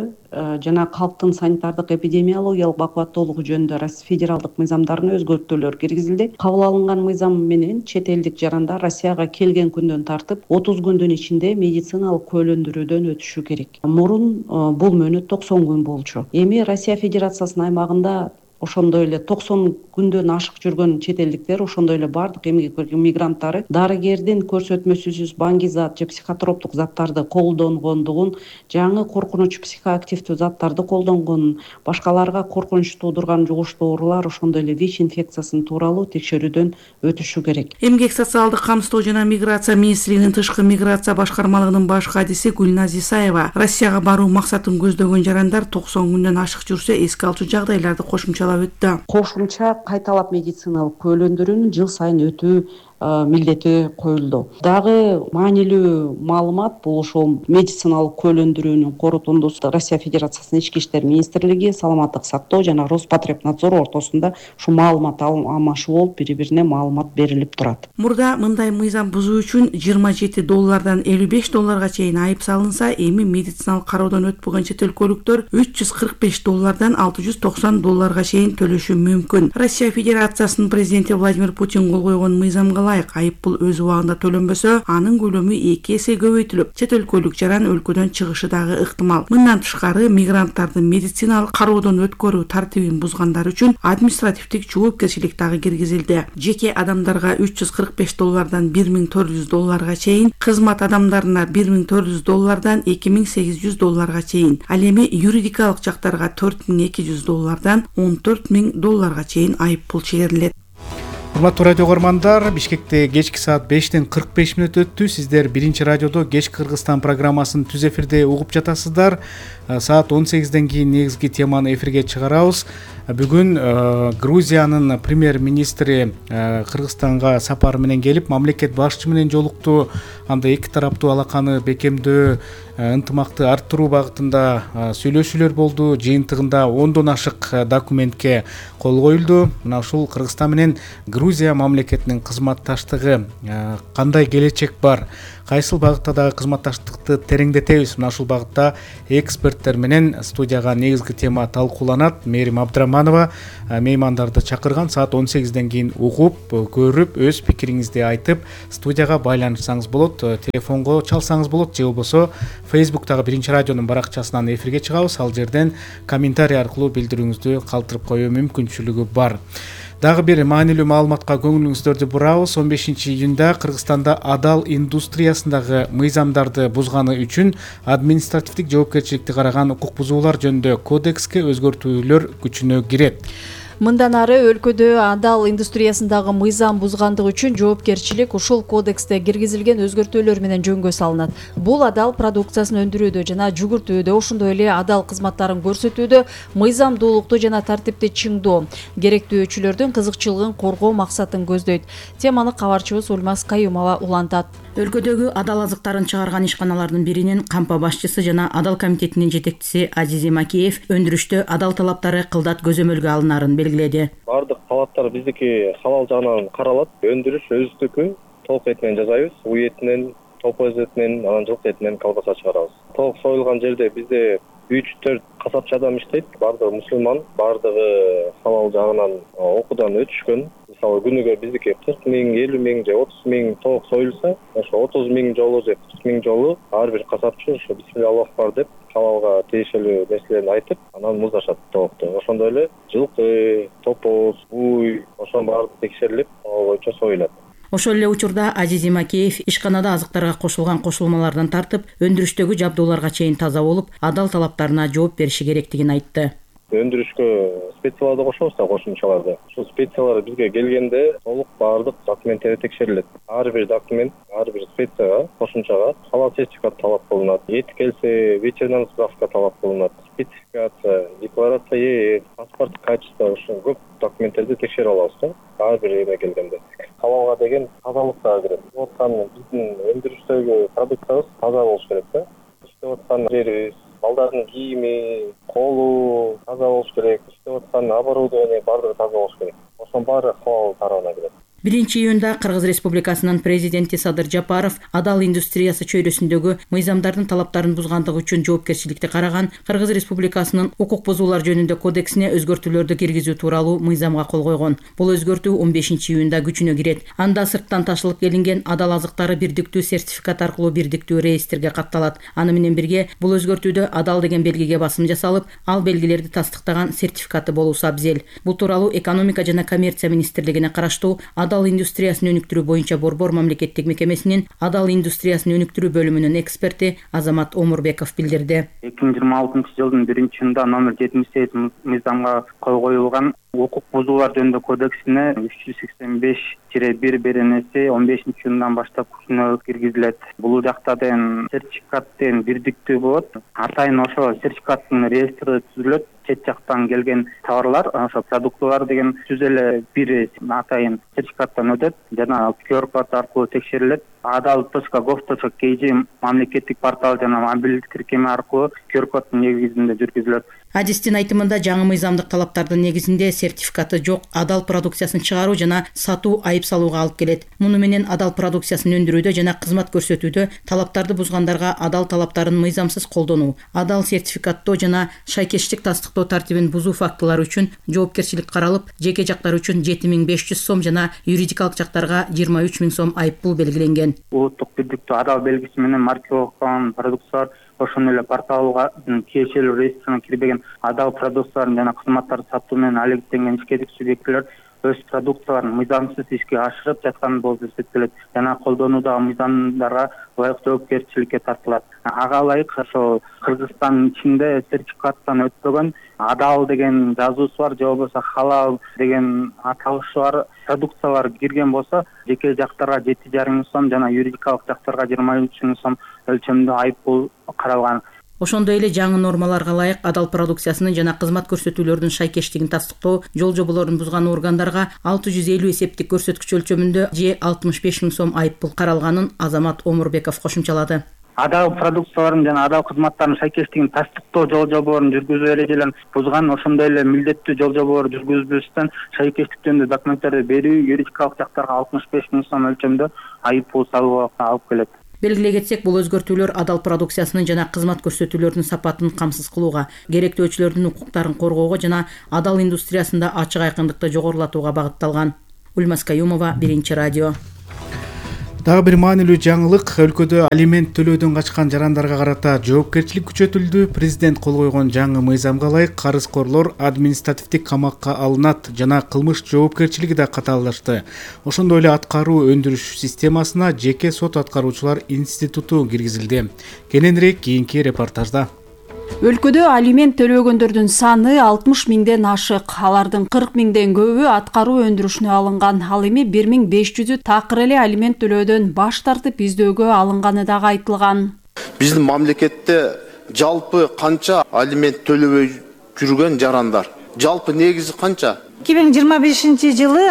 жана калктын санитардык эпидемиологиялык бакубаттуулугу жөнүндө федералдык мыйзамдарына өзгөртүүлөр киргизилди. Кабыл алынган мыйзам менен чет элдик жарандар Россияга келген күндөн тартып 30 күндүн ичинде медициналык көөлөндүрүүдөн өтүшү керек. Мурун бул мөөнөт 90 күн болчу. Эми Россия Федерациясынын аймагында ошондой эле 90 күндөн ашык жүргөн чет элдиктер, ошондой эле бардык эмгек мигранттары дарыгердин көрсөтмөсүсүз баңгизат же психотроптук заттарды колдонгондугун, жаңы коркунуч психоактивдүү заттарды колдонгонун, башкаларга коркунуч туудурган жугуштуу оорулар, ошондой эле ВИЧ инфекциясын тууралуу текшерүүдөн өтүшү керек. Эмгек социалдык камсыздоо жана миграция министрлигинин тышкы миграция башкармалыгынын баш кадиси Гүлназ Исаева Россияга баруу максатын көздөгөн жарандар 90 күндөн ашык жүрсө эске алчу жагдайларды кошумча Кошумча кайталап медициналык көөлөндүрүүнүн жыл сайын өтүү милдети коюлду. Дагы маанилүү маалымат бул ошол медициналык көөлөндүрүүнүн корутундусу Россия Федерациясынын ички иштер министрлиги, саламаттык сактоо жана Роспотребнадзор ортосунда ушу маалымат алмашуу болуп, бири-бирине маалымат берилип турат. Мурда мындай мыйзам бузуу үчүн $27 $55 чейин айып салынса, эми медициналык кароодон өтпөгөн чет өлкөлүктөр $345 $690 чейин төлөшү мүмкүн. Россия Федерациясынын президенти Владимир Путин кол койгон мыйзамга айыппул өз убагында төлөнбөсө, анын көлөмү 2 эсе көбөйтүлүп, чет өлкөлүк жаран өлкөдөн чыгышы дагы ыктымал. Мындан тышкары, мигранттардын медициналык кароодон өткөрүү тартибин бузгандар үчүн административдик жоопкерчилик дагы киргизилди. Жеке адамдарга $345 $1400 чейин, кызмат адамдарына $1400 $2800 чейин, ал эми юридикалык жактарга $4200 $14000 чейин айыппул чегерилет. Урматтуу радио көрмандар, Бишкекте кечки саат 5:45 өттү. Сиздер биринчи радиодо Кеч Кыргызстан программасын түз эфирде угуп жатасыздар. Саат 18ден кийин негизги теманы эфирге чыгарабыз. Бүгүн Грузиянын премьер-министри Кыргызстанга сапар менен келип, мамлекет башчысы менен жолукту. Анда эки тараптуу алаканы бекемдөө, ынтымакты арттыруу багытында сүйлөшүүлөр болду. Жыйынтыгында 10дон ашык документке кол коюлду. Мына ушул Кыргызстан менен Грузия мамлекетинин кызматташтыгы кандай келечек бар? Кайсыл багытта дагы кызматташтыкты тереңдетебиз? Мына ушул багытта эксперттер менен студияга негизги тема талкууланат. Мээрим Абдыраманова меймандарды чакырган. Саат 18ден кийин угуп, көрүп, өз пикириңизди айтып, студияга байланышсаңыз болот, телефонго чалсаңыз болот, же болбосо Facebook'тагы биринчи радионун баракчасынан эфирге чыгабыз. Ал жерден комментарий аркылуу билдирүүңүздү калтырып коюу мүмкүнчүлүгү бар. Дагы бир маанилүү маалыматка көңүлүңүздөрдү бурабыз. 15-июнда Кыргызстанда адал индустриясындагы мыйзамдарды бузганы үчүн административдик жоопкерчиликти караган укук бузуулар жөнүндө кодекске өзгөртүүлөр күчүнө кирет. Мындан ары өлкөдө адал индустриясындагы мыйзам бузгандык үчүн жоопкерчилик ушул кодексте киргизилген өзгөртүүлөр менен жөнгө салынат. Бул адал продукциясын өндүрүүдө жана жүгүртүүдө, ошондой эле адал кызматтарын көрсөтүүдө мыйзамдуулукту жана тартипти чыңдоо, керектөөчүлөрдүн кызыкчылыгын коргоо максатын көздөйт. Теманы кабарчыбыз Ульмаз Каюмова улантат. Өлкөдөгү адал азыктарын чыгарган ишканалардын биринин кампа башчысы жана адал комитетинин жетекчиси Азизи Макеев өндүрүштө адал талаптары кылдат көзөмөлгө алынарын белгиледи. Бардык талаптар биздики халал жагынан каралат. Өндүрүш өзүбүздүкү толук эт менен жасайбыз. Уй этинен, топоз этинен, анан жылкы этинен колбаса чыгарабыз. Толук союлган жерде бизде 3-4 касапчы адам иштейт. Бардыгы мусулман, бардыгы халал жагынан окуудан өтүшкөн. Мисалы күнүгө биздики 40 000, 50 000 же 30 000 толук союлса, ошо 30 000 жолу же 40 000 жолу ар бир касапчы ошо бисмилля Аллаху акбар деп халалга тиешелүү нерселерди айтып, анан муздашат толукту. Ошондой эле жылкы, топоз, уй, ошонун баары текшерилип, ал боюнча союлат. Ошол эле учурда Азизи Макеев ишканада азыктарга кошулган кошулмалардан тартып, өндүрүштөгү жабдууларга чейин таза болуп, адал талаптарына жооп бериши керектигин айтты. Өндүрүшкө специяларды кошобуз да, кошумчаларды. Ушул специялар бизге келгенде толук баардык документтери текшерилет. Ар бир документ, ар бир специяга, кошумчага халал сертификат талап кылынат. Эт келсе, ветеринарный справка талап кылынат. Спецификация, декларация, паспорт качества, ушул көп документтерди текшерип алабыз да. Ар бир эме келгенде. Халалга деген тазалык дагы кирет. Откан биздин өндүрүштөгү продукциябыз таза болуш керек да. Иштеп аткан жерибиз, балдардын кийими, колу таза болуш керек. Иштеп аткан оборудование баардыгы таза болуш керек. Ошонун баары халал тарабына кирет. 1-июнда Кыргыз Республикасынын президенти Садыр Жапаров адал индустриясы чөйрөсүндөгү мыйзамдардын талаптарын бузгандыгы үчүн жоопкерчиликти караган Кыргыз Республикасынын укук бузуулар жөнүндө кодексине өзгөртүүлөрдү киргизүү тууралуу мыйзамга кол койгон. Бул өзгөртүү 15-июнда күчүнө кирет. Анда сырттан ташылып келинген адал азыктары бирдиктүү сертификат аркылуу бирдиктүү реестрге катталат. Аны менен бирге бул өзгөртүүдө адал деген белгиге басым жасалып, ал белгилерди тастыктаган сертификаты болуусу абзел. Бул тууралуу экономика жана коммерция министрлигине караштуу адал индустриясын өнүктүрүү боюнча Борбор мамлекеттик мекемесинин адал индустриясын өнүктүрүү бөлүмүнүн эксперти Азамат Омурбеков билдирди. 2026-жылдын 1-июнунда номер 78 мыйзамга кол коюлган укук бузуулар жөнүндө кодексине 385-1 беренеси 15-июндан баштап күчүнө киргизилет. Бул жакта деген сертификаттын бирдиктүү болот. Атайын ошо сертификаттын реестри түзүлөт. Чет жактан келген товарлар, ошо продуктылар деген түз эле бир атайын сертификаттан өтөт жана QR-код аркылуу текшерилет. adal.gov.kg мамлекеттик портал жана мобилдик тиркеме аркылуу QR-коддун негизинде жүргүзүлөт. Адистин айтымында жаңы мыйзамдык талаптардын негизинде сертификаты жок адал продукциясын чыгаруу жана сатуу айып салууга алып келет. Муну менен адал продукциясын өндүрүүдө жана кызмат көрсөтүүдө талаптарды бузгандарга адал талаптарын мыйзамсыз колдонуу, адал сертификаттоо жана шайкештик тастыктоо тартибин бузуу фактылары үчүн жоопкерчилик каралып, жеке жактар үчүн 7500 сом жана юридикалык жактарга 23 000 сом айыппул белгиленген. Улуттук бирдиктүү адал белгиси менен маркаланган продукциялар ошондой эле порталга тиешелүү реестрине кирбеген адал продукцияларын жана кызматтарды сатуу менен алектенген ишкерлик субъектилер өз продукцияларын мыйзамсыз ишке ашырып жаткан болуп эсептелет жана колдонуудагы мыйзамдарга ылайык жоопкерчиликке тартылат. Ага ылайык ошо Кыргызстандын ичинде сертификаттан өтпөгөн адал деген жазуусу бар же болбосо халал деген аталышы бар продукциялар кирген болсо жеке жактарга 7,5 миң сом жана юридикалык жактарга 23 миң сом өлчөмдө айып пул каралган. Ошондой эле жаңы нормаларга ылайык адал продукциясынын жана кызмат көрсөтүүлөрдүн шайкештигин тастыктоо жол жоболорун бузган органдарга 650 эсептик көрсөткүч өлчөмүндө же 65 миң сом айып пул каралганын Азамат Омурбеков кошумчалады. Адал продукцияларын жана адал кызматтардын шайкештигин тастыктоо жол жоболорун жүргүзүү эрежелерин бузган, ошондой эле милдеттүү жол жоболорду жүргүзбөстөн шайкештик жөнүндө документтерди берүү юридикалык жактарга 65 миң сом өлчөмдө айып пул салууга алып келет. Белгилей кетсек, бул өзгөртүүлөр адал продукциясынын жана кызмат көрсөтүүлөрдүн сапатын камсыз кылууга, керектөөчүлөрдүн укуктарын коргоого жана адал индустриясында ачык айкындыкты жогорулатууга багытталган. Ульмас Каюмова, Биринчи радио. Дагы бир маанилүү жаңылык, өлкөдө алимент төлөөдөн качкан жарандарга карата жоопкерчилик күчөтүлдү. Президент кол койгон жаңы мыйзамга ылайык карызкорлор административдик камакка алынат жана кылмыш жоопкерчилиги да катаалдашты. Ошондой эле аткаруу өндүрүш системасына жеке сот аткаруучулар институту киргизилди. Кененирээк кийинки репортажда. Өлкөдө алимент төлөгөндөрдүн саны 60 миңден ашык. Алардын 40 миңден көбү аткаруу өндүрүшүнө алынган. Ал эми 1500-ү такыр эле алимент төлөөдөн баш тартып издөөгө алынганы дагы айтылган. Биздин мамлекетте жалпы канча алимент төлөбөй жүргөн жарандар? Жалпы негизи канча? 2025-жылы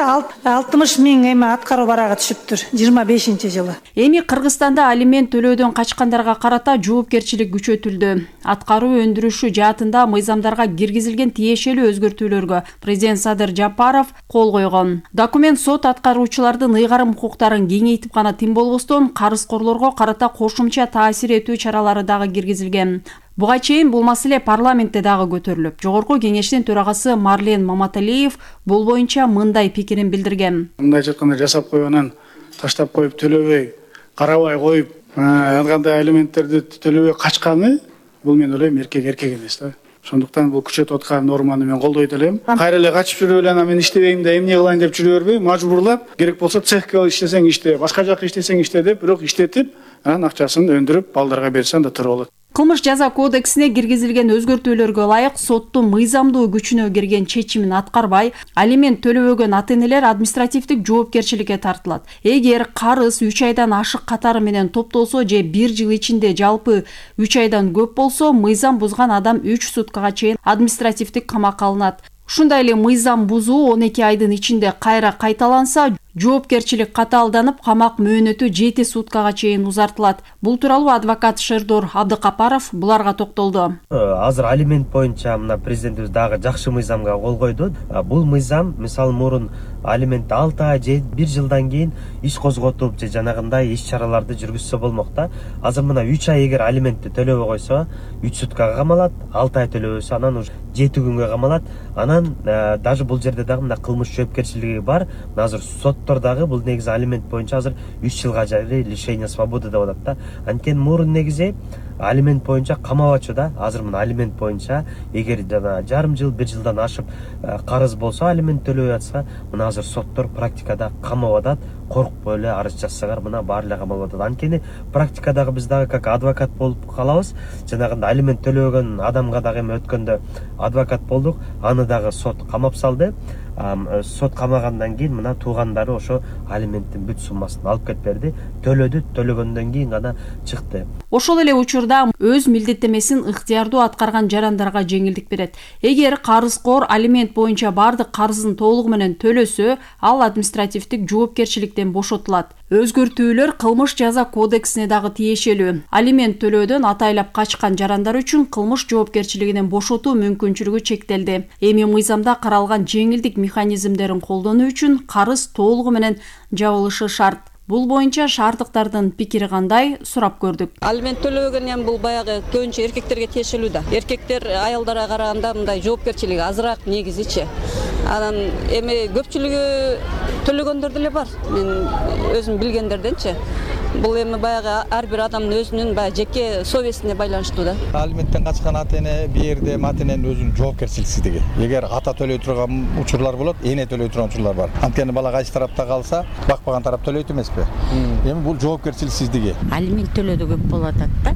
60 миң эми аткаруу барага түшүптүр. 25-жылы. Эми Кыргызстанда алимент төлөөдөн качкандарга карата жоопкерчилик күчөтүлдү. Аткаруу өндүрүшү жаатында мыйзамдарга киргизилген тиешелүү өзгөртүүлөргө президент Садыр Жапаров кол койгон. Документ сот аткаруучулардын ыйгарым укуктарын кеңейтип гана тим болбостон, карызкорлорго карата кошумча таасир этүү чаралары дагы киргизилген. Буга чейин бул маселе парламентте дагы көтөрүлүп, Жогорку кеңештин төрагасы Марлен Маматалиев бул боюнча мындай пикирин билдирген. Мындай жатканда жасап койгонан таштап коюп төлөбөй, карабай коюп, кандай алименттерди төлөбөй качканы, бул мен ойлойм эркек эмес да. Ошондуктан бул күчөтүп аткан норманы мен колдойт элем. Кайра эле качып жүрүп эле мен иштебейм да, эмне кылайын деп жүрө бербей, мажбурлап, керек болсо цехке иштесең иште, башка жакка иштесең иште деп, бирок иштетип, анан акчасын өндүрүп, балдарга берсең да туру болот. Кылмыш жаза кодексине киргизилген өзгөртүүлөргө ылайык соттун мыйзамдуу күчүнө кирген чечимин аткарбай, алимент төлөбөгөн ата-энелер административдик жоопкерчиликке тартылат. Эгер карыз 3 айдан ашык катары менен топтолсо же 1 жыл ичинде жалпы 3 айдан көп болсо, мыйзам бузган адам 3 суткага чейин административдик камакка алынат. Ушундай эле мыйзам бузуу 12 айдын ичинде кайра кайталанса, жоопкерчилик катаалданып, камак мөөнөтү 7 суткага чейин узартылат. Бул тууралуу адвокат Шердор Абдыкапаров буларга токтолду. Азыр алимент боюнча мына президентибиз дагы жакшы мыйзамга кол койду. Бул мыйзам мисалы мурун алимент 6 ай же 1 жылдан кийин иш козготуп же жанагындай иш чараларды жүргүзсө болмок да. Азыр мына 3 ай эгер алиментти төлөбөй койсо 3 суткага камалат, 6 ай төлөбөсө анан уже 7 күнгө камалат. Анан даже бул жерде дагы мына кылмыш жоопкерчилиги бар. Азыр соттор дагы бул негизи алимент боюнча азыр 3 жылга жарый лишение свободы деп атат да. Анткени мурун негизи алимент боюнча камабачу да. Азыр мына алимент боюнча эгер жана жарым жыл, 1 жылдан ашып карыз болсо, алимент төлөбөй атса, мына азыр соттор практикада камап атат. Коркпой эле арыз жазсаңар мына баары эле камалып атат. Анткени практикадагы биз дагы как адвокат болуп калабыз. Жанагындай алимент төлөбөгөн адамга дагы эми өткөндө адвокат болдук. Аны дагы сот камап салды. Сот камагандан кийин мына туугандары ошо алименттин бүт суммасын алып кетип берди. Төлөдү, төлөгөндөн кийин гана чыкты. Ошол эле учурда өз милдеттемесин ыктыярдуу аткарган жарандарга жеңилдик берет. Эгер карызкор алимент боюнча бардык карызын толугу менен төлөсө, ал административдик жоопкерчиликтен бошотулат. Өзгөртүүлөр кылмыш жаза кодексине дагы тиешелүү. Алимент төлөөдөн атайлап качкан жарандар үчүн кылмыш жоопкерчилигинен бошотуу мүмкүнчүлүгү чектелди. Эми мыйзамда каралган жеңилдик механизмдерин колдонуу үчүн карыз толугу менен жабылышы шарт. Бул боюнча шаардыктардын пикири кандай сурап көрдүк. Алимент төлөбөгөн эми бул баягы көбүнчө эркектерге тиешелүү да. Эркектер аялдарга караганда мындай жоопкерчилиги азыраак негизичи. Анан эми көпчүлүгү төлөгөндөр деле бар. Мен өзүм билгендерденчи. Бул эми баягы ар бир адамдын өзүнүн баягы жеке совестине байланыштуу да. Алименттен качкан ата эне бир жерде ата эненин өзүнүн жоопкерчиликсиздиги. Эгер ата төлөй турган учурлар болот, эне төлөй турган учурлар бар. Анткени бала кайсы тарапта калса, бакпаган тарап төлөйт эмеспи? Эми бул жоопкерчиликсиздиги. Алимент төлөдө көп болуп атат да.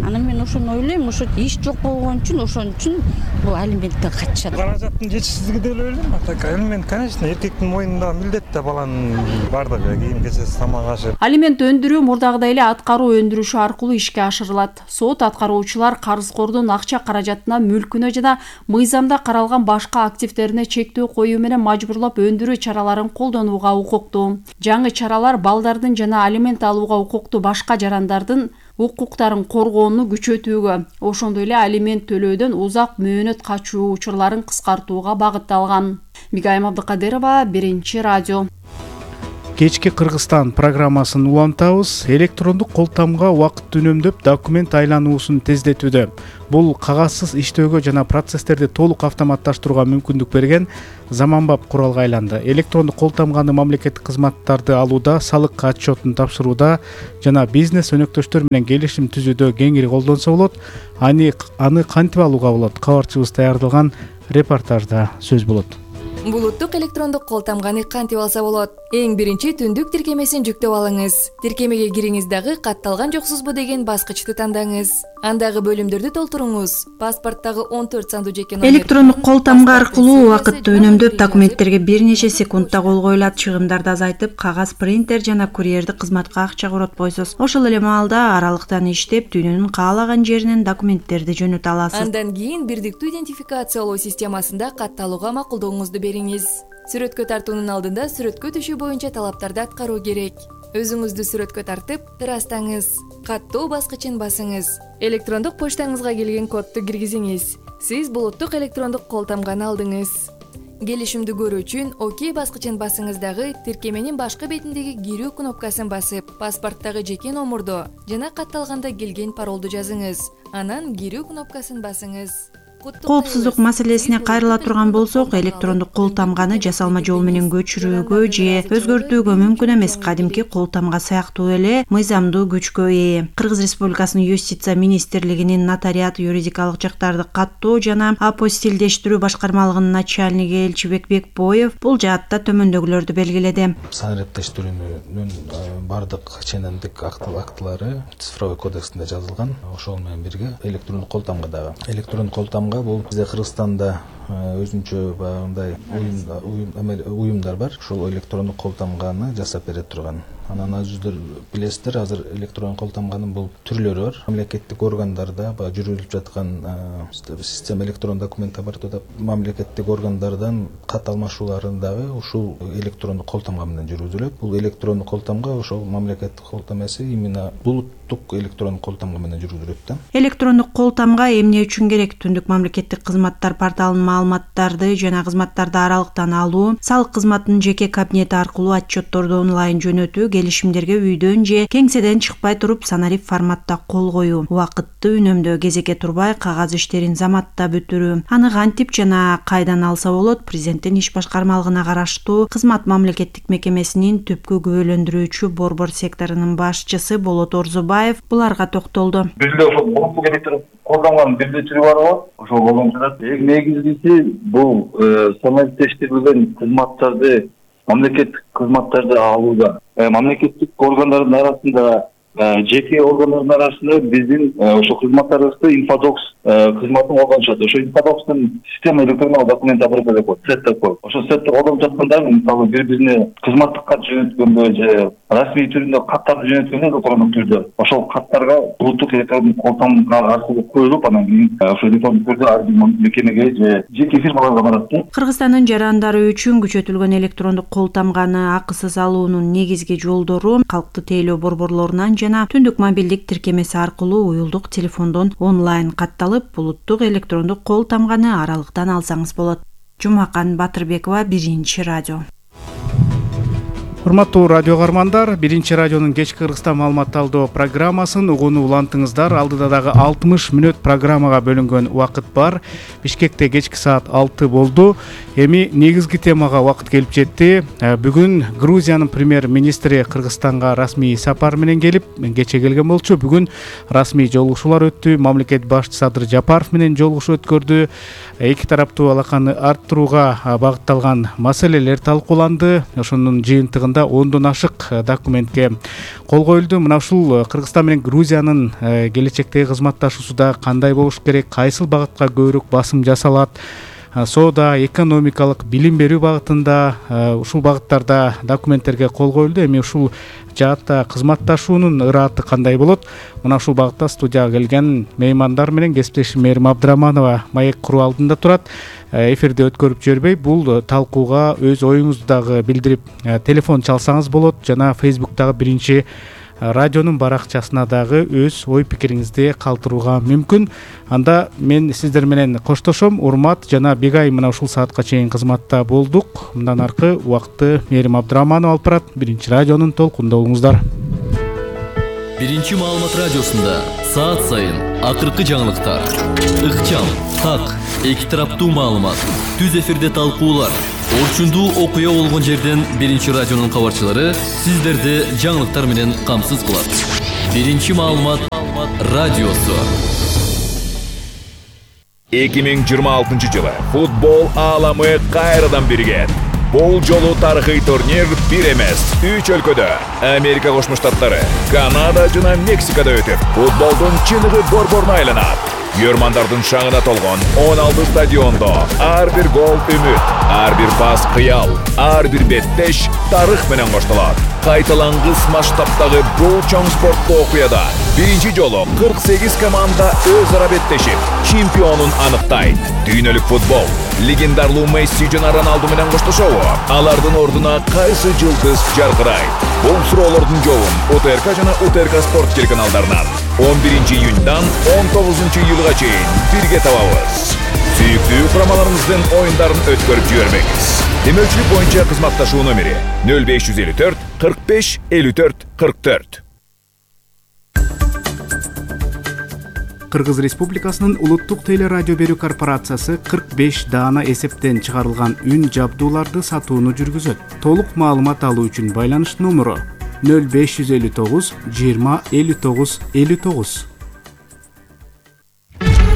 Анан мен ошону ойлойм, ошо иш жок болгон үчүн ошон үчүн бул алименттен качышат. Каражаттын жетишсиздиги деп ойлойм. Алимент, конечно, эркектин мойнунда милдет да баланын бардыгы, кийим-кечеси, тамак-ашы. Алимент өндүрүү мурдагыдай эле аткаруу өндүрүшү аркылуу ишке ашырылат. Сот аткаруучулар карызкордун акча каражатына, мүлкүнө жана мыйзамда каралган башка активдерине чектөө коюу менен мажбурлап өндүрүү чараларын колдонууга укуктуу. Жаңы чаралар балдардын жана алимент алууга укуктуу башка жарандардын укуктарын коргоону күчөтүүгө, ошондой эле алимент төлөөдөн узак мөөнөт качуу учурларын кыскартууга багытталган. Мигайым Абдыкадырова, Биринчи радио. Кечки Кыргызстан программасын улантабыз. Электрондук кол тамга убакыт үнөмдөп документ айлануусун тездетүүдө. Бул кагазсыз иштөөгө жана процесстерди толук автоматташтырууга мүмкүндүк берген заманбап куралга айланды. Электрондук кол тамганы мамлекеттик кызматтарды алууда, салык отчетун тапшырууда жана бизнес өнөктөштөр менен келишим түзүүдө кеңири колдонсо болот. Аны кантип алууга болот? Кабарчыбыз даярдалган репортажда сөз болот. Булуттук электрондук кол тамганы кантип алса болот? Эң биринчи түндүк тиркемесин жүктөп алыңыз. Тиркемеге кириңиз дагы катталган жоксузбу деген баскычты тандаңыз. Андагы бөлүмдөрдү толтуруңуз. Паспорттагы 14 сандуу жеке номер. Электрондук кол тамга аркылуу убакытты үнөмдөп документтерге бир нече секундда кол коюлат, чыгымдарды азайтып, кагаз, принтер жана курьерди кызматка акча коротпойсуз. Ошол эле маалда аралыктан иштеп, дүйнөнүн каалаган жеринен документтерди жөнөтө аласыз. Андан кийин бирдиктүү идентификациялоо системасында катталууга макулдооңузду бериңиз. Сүрөткө тартуунун алдында сүрөткө түшүү боюнча талаптарды аткаруу керек. Өзүңүздү сүрөткө тартып, ырастаңыз. Каттоо баскычын басыңыз. Электрондук почтаңызга келген кодду киргизиңиз. Сиз булуттук электрондук кол тамганы алдыңыз. Келишимди көрүү үчүн ОК баскычын басыңыз дагы тиркеменин башкы бетиндеги кирүү кнопкасын басып, паспорттагы жеке номурду жана катталганда келген паролду жазыңыз. Анан кирүү кнопкасын басыңыз. Коопсуздук маселесине кайрыла турган болсок, электрондук кол тамганы жасалма жол менен көчүрүүгө же өзгөртүүгө мүмкүн эмес. Кадимки кол тамга сыяктуу эле мыйзамдуу күчкө ээ. Кыргыз Республикасынын Юстиция министрлигинин нотариат юридикалык жактарды каттоо жана апостилдештирүү башкармалыгынын начальниги Элчибек Бекбоев бул жаатта төмөндөгүлөрдү белгиледи. Санариптештирүүнүн бардык ченемдик актылары цифровой кодексинде жазылган. Ошол менен бирге электрондук кол тамга дагы. Электрондук кол тамга бул бизде Кыргызстанда өзүнчө баягындай уюмдар бар. Ошол электрондук кол тамганы жасап бере турган. Анан өзүңүздөр билесиздер, азыр электрондук кол тамганын бул түрлөрү бар. Мамлекеттик органдарда жүргүзүлүп жаткан система электрон документ обороту мамлекеттик органдардан кат алмашууларын дагы ушул электрондук кол тамга менен жүргүзүлөт. Бул электрондук кол тамга ошол мамлекеттик кол тамгасы именно булуттук электрондук кол тамга менен жүргүзүлөт да. Электрондук кол тамга эмне үчүн керек? Түндүк мамлекеттик кызматтар порталынын маалыматтарды жана кызматтарды аралыктан алуу, салык кызматынын жеке кабинети аркылуу отчетторду онлайн жөнөтүү, келишимдерге үйдөн же кеңседен чыкпай туруп санарип форматта кол коюу, убакытты үнөмдөө, кезекке турбай кагаз иштерин заматта бүтүрүү. Аны кантип жана кайдан алса болот? Президенттин иш башкармалыгына караштуу кызмат мамлекеттик мекемесинин түпкү күбөлөндүрүүчү борбор секторунун башчысы Болот Орзубаев буларга токтолду. Бизде ошол улуттук электрондук кол тамганын бирдей түрү бар го. Ошол колдонулат. Эң негизгиси бул санариптештирилген кызматтарды, мамлекеттик кызматтарды алууда. Мамлекеттик органдардын арасында, жеке органдардын арасында биздин ошо кызматтарыбызды инфодокс кызматын колдонушат. Ошо инфодокстун система электрондук документ оборота деп коет, сет деп коет. Ошо сетти колдонуп жатканда, мисалы бири-бирине кызматтык кат жөнөткөндө же расмий түрүндө каттарды жөнөткөндө электрондук түрдө ошол каттарга булуттук электрондук кол тамга аркылуу коюлуп, анан кийин ошо электрондук түрдө ар бир мекемеге же жеке фирмаларга барат да. Кыргызстандын жарандары үчүн күчөтүлгөн электрондук кол тамганы акысыз алуунун негизги жолдору калктык тейлөө борборлорунан жана түндүк мобилдик тиркемеси аркылуу уюлдук телефондон онлайн катталып, булуттук электрондук кол тамганы аралыктан алсаңыз болот. Жумакан Батырбекова, Биринчи радио. Урматтуу радио каармандар, биринчи радионун кечки Кыргызстан маалымат талдоо программасын угууну улантыңыздар. Алдыда дагы 60 мүнөт программага бөлүнгөн убакыт бар. Бишкекте кечки саат 6 болду. Эми негизги темага убакыт келип жетти. Бүгүн Грузиянын премьер-министри Кыргызстанга расмий сапар менен келип, кече келген болчу. Бүгүн расмий жолугушуулар өттү. Мамлекет башчысы Садыр Жапаров менен жолугушуу өткөрдү. Эки тараптуу алаканы арттырууга багытталган маселелер талкууланды. Ошонун жыйынтыгында 10дон ашык документке кол коюлду. Мына ушул Кыргызстан менен Грузиянын келечектеги кызматташуусуда кандай болуш керек, кайсыл багытка көбүрөөк басым жасалат, соода, экономикалык, билим берүү багытында ушул багыттарда документтерге кол коюлду. Эми ушул жаатта кызматташуунун ырааты кандай болот? Мына ушул багытта студияга келген меймандар менен кесиптешим Мээрим Абдыраманова маек куруу алдында турат. Эфирде өткөрүп жибербей, бул талкууга өз оюңузду дагы билдирип, телефон чалсаңыз болот жана Facebook'тагы биринчи радионун баракчасына дагы өз ой пикириңизди калтырууга мүмкүн. Анда мен сиздер менен коштошом. Урмат жана Бегай мына ушул саатка чейин кызматта болдук. Мындан аркы убакытты Мээрим Абдыраманова алып барат. Биринчи радионун толкунда болуңуздар. Биринчи маалымат радиосунда саат сайын акыркы жаңылыктар, ыкчам, так, эки тараптуу маалымат, түз эфирде талкуулар, орчундуу окуя болгон жерден биринчи радионун кабарчылары сиздерди жаңылыктар менен камсыз кылат. Биринчи маалымат радиосу. 2026 жылы футбол ааламы кайрадан биригет. Бул жолу тарыхый турнир бир эмес, 3 өлкөдө, Америка Кошмо Штаттары, Канада жана Мексикада өтүп, футболдун чыныгы борборуна айланат. Көрмандардын шаңына толгон 16 стадиондо ар бир гол үмүт, ар бир пас кыял, ар бир беттеш тарых менен коштолот. Кайталангыс масштабтагы бул чоң спорттуу окуяда биринчи жолу 48 команда өз ара беттешип, чемпионун аныктайт. Дүйнөлүк футбол легендарлуу Месси жана Роналду менен коштошобу? Алардын ордуна кайсы жылдыз жаркырайт? Бул суроолордун жообун УТРК жана УТРК спорт телеканалдарынан 11 июньдан 19 июлга чейин бирге табабыз. Сүйүктүү курамаларыңыздын оюндарын өткөрүп жибербеңиз. Демөчүлүк боюнча кызматташуу номери 0554 45 54 44. Кыргыз Республикасынын Улуттук телерадио берүү корпорациясы 45 даана эсептен чыгарылган үн жабдууларды сатууну жүргүзөт. Толук маалымат алуу үчүн байланыш номеру 0559 20 59 59.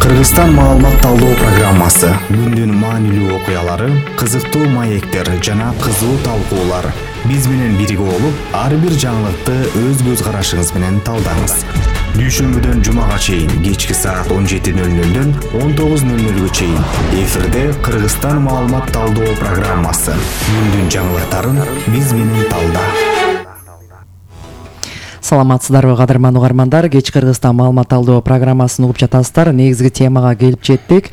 Кыргызстан маалымат талдоо программасы. Күндүн маанилүү окуялары, кызыктуу маектер жана кызуу талкуулар. Биз менен бирге болуп, ар бир жаңылыкты өз көз карашыңыз менен талдаңыз. Дүйшөмбүдөн жумага чейин кечки саат 17:00дөн 19:00га чейин эфирде Кыргызстан маалымат талдоо программасы. Күндүн жаңылыктарын биз менен талда. Саламатсыздарбы кадырман угармандар, кеч Кыргызстан маалымат талдоо программасын угуп жатасыздар. Негизги темага келип жеттик.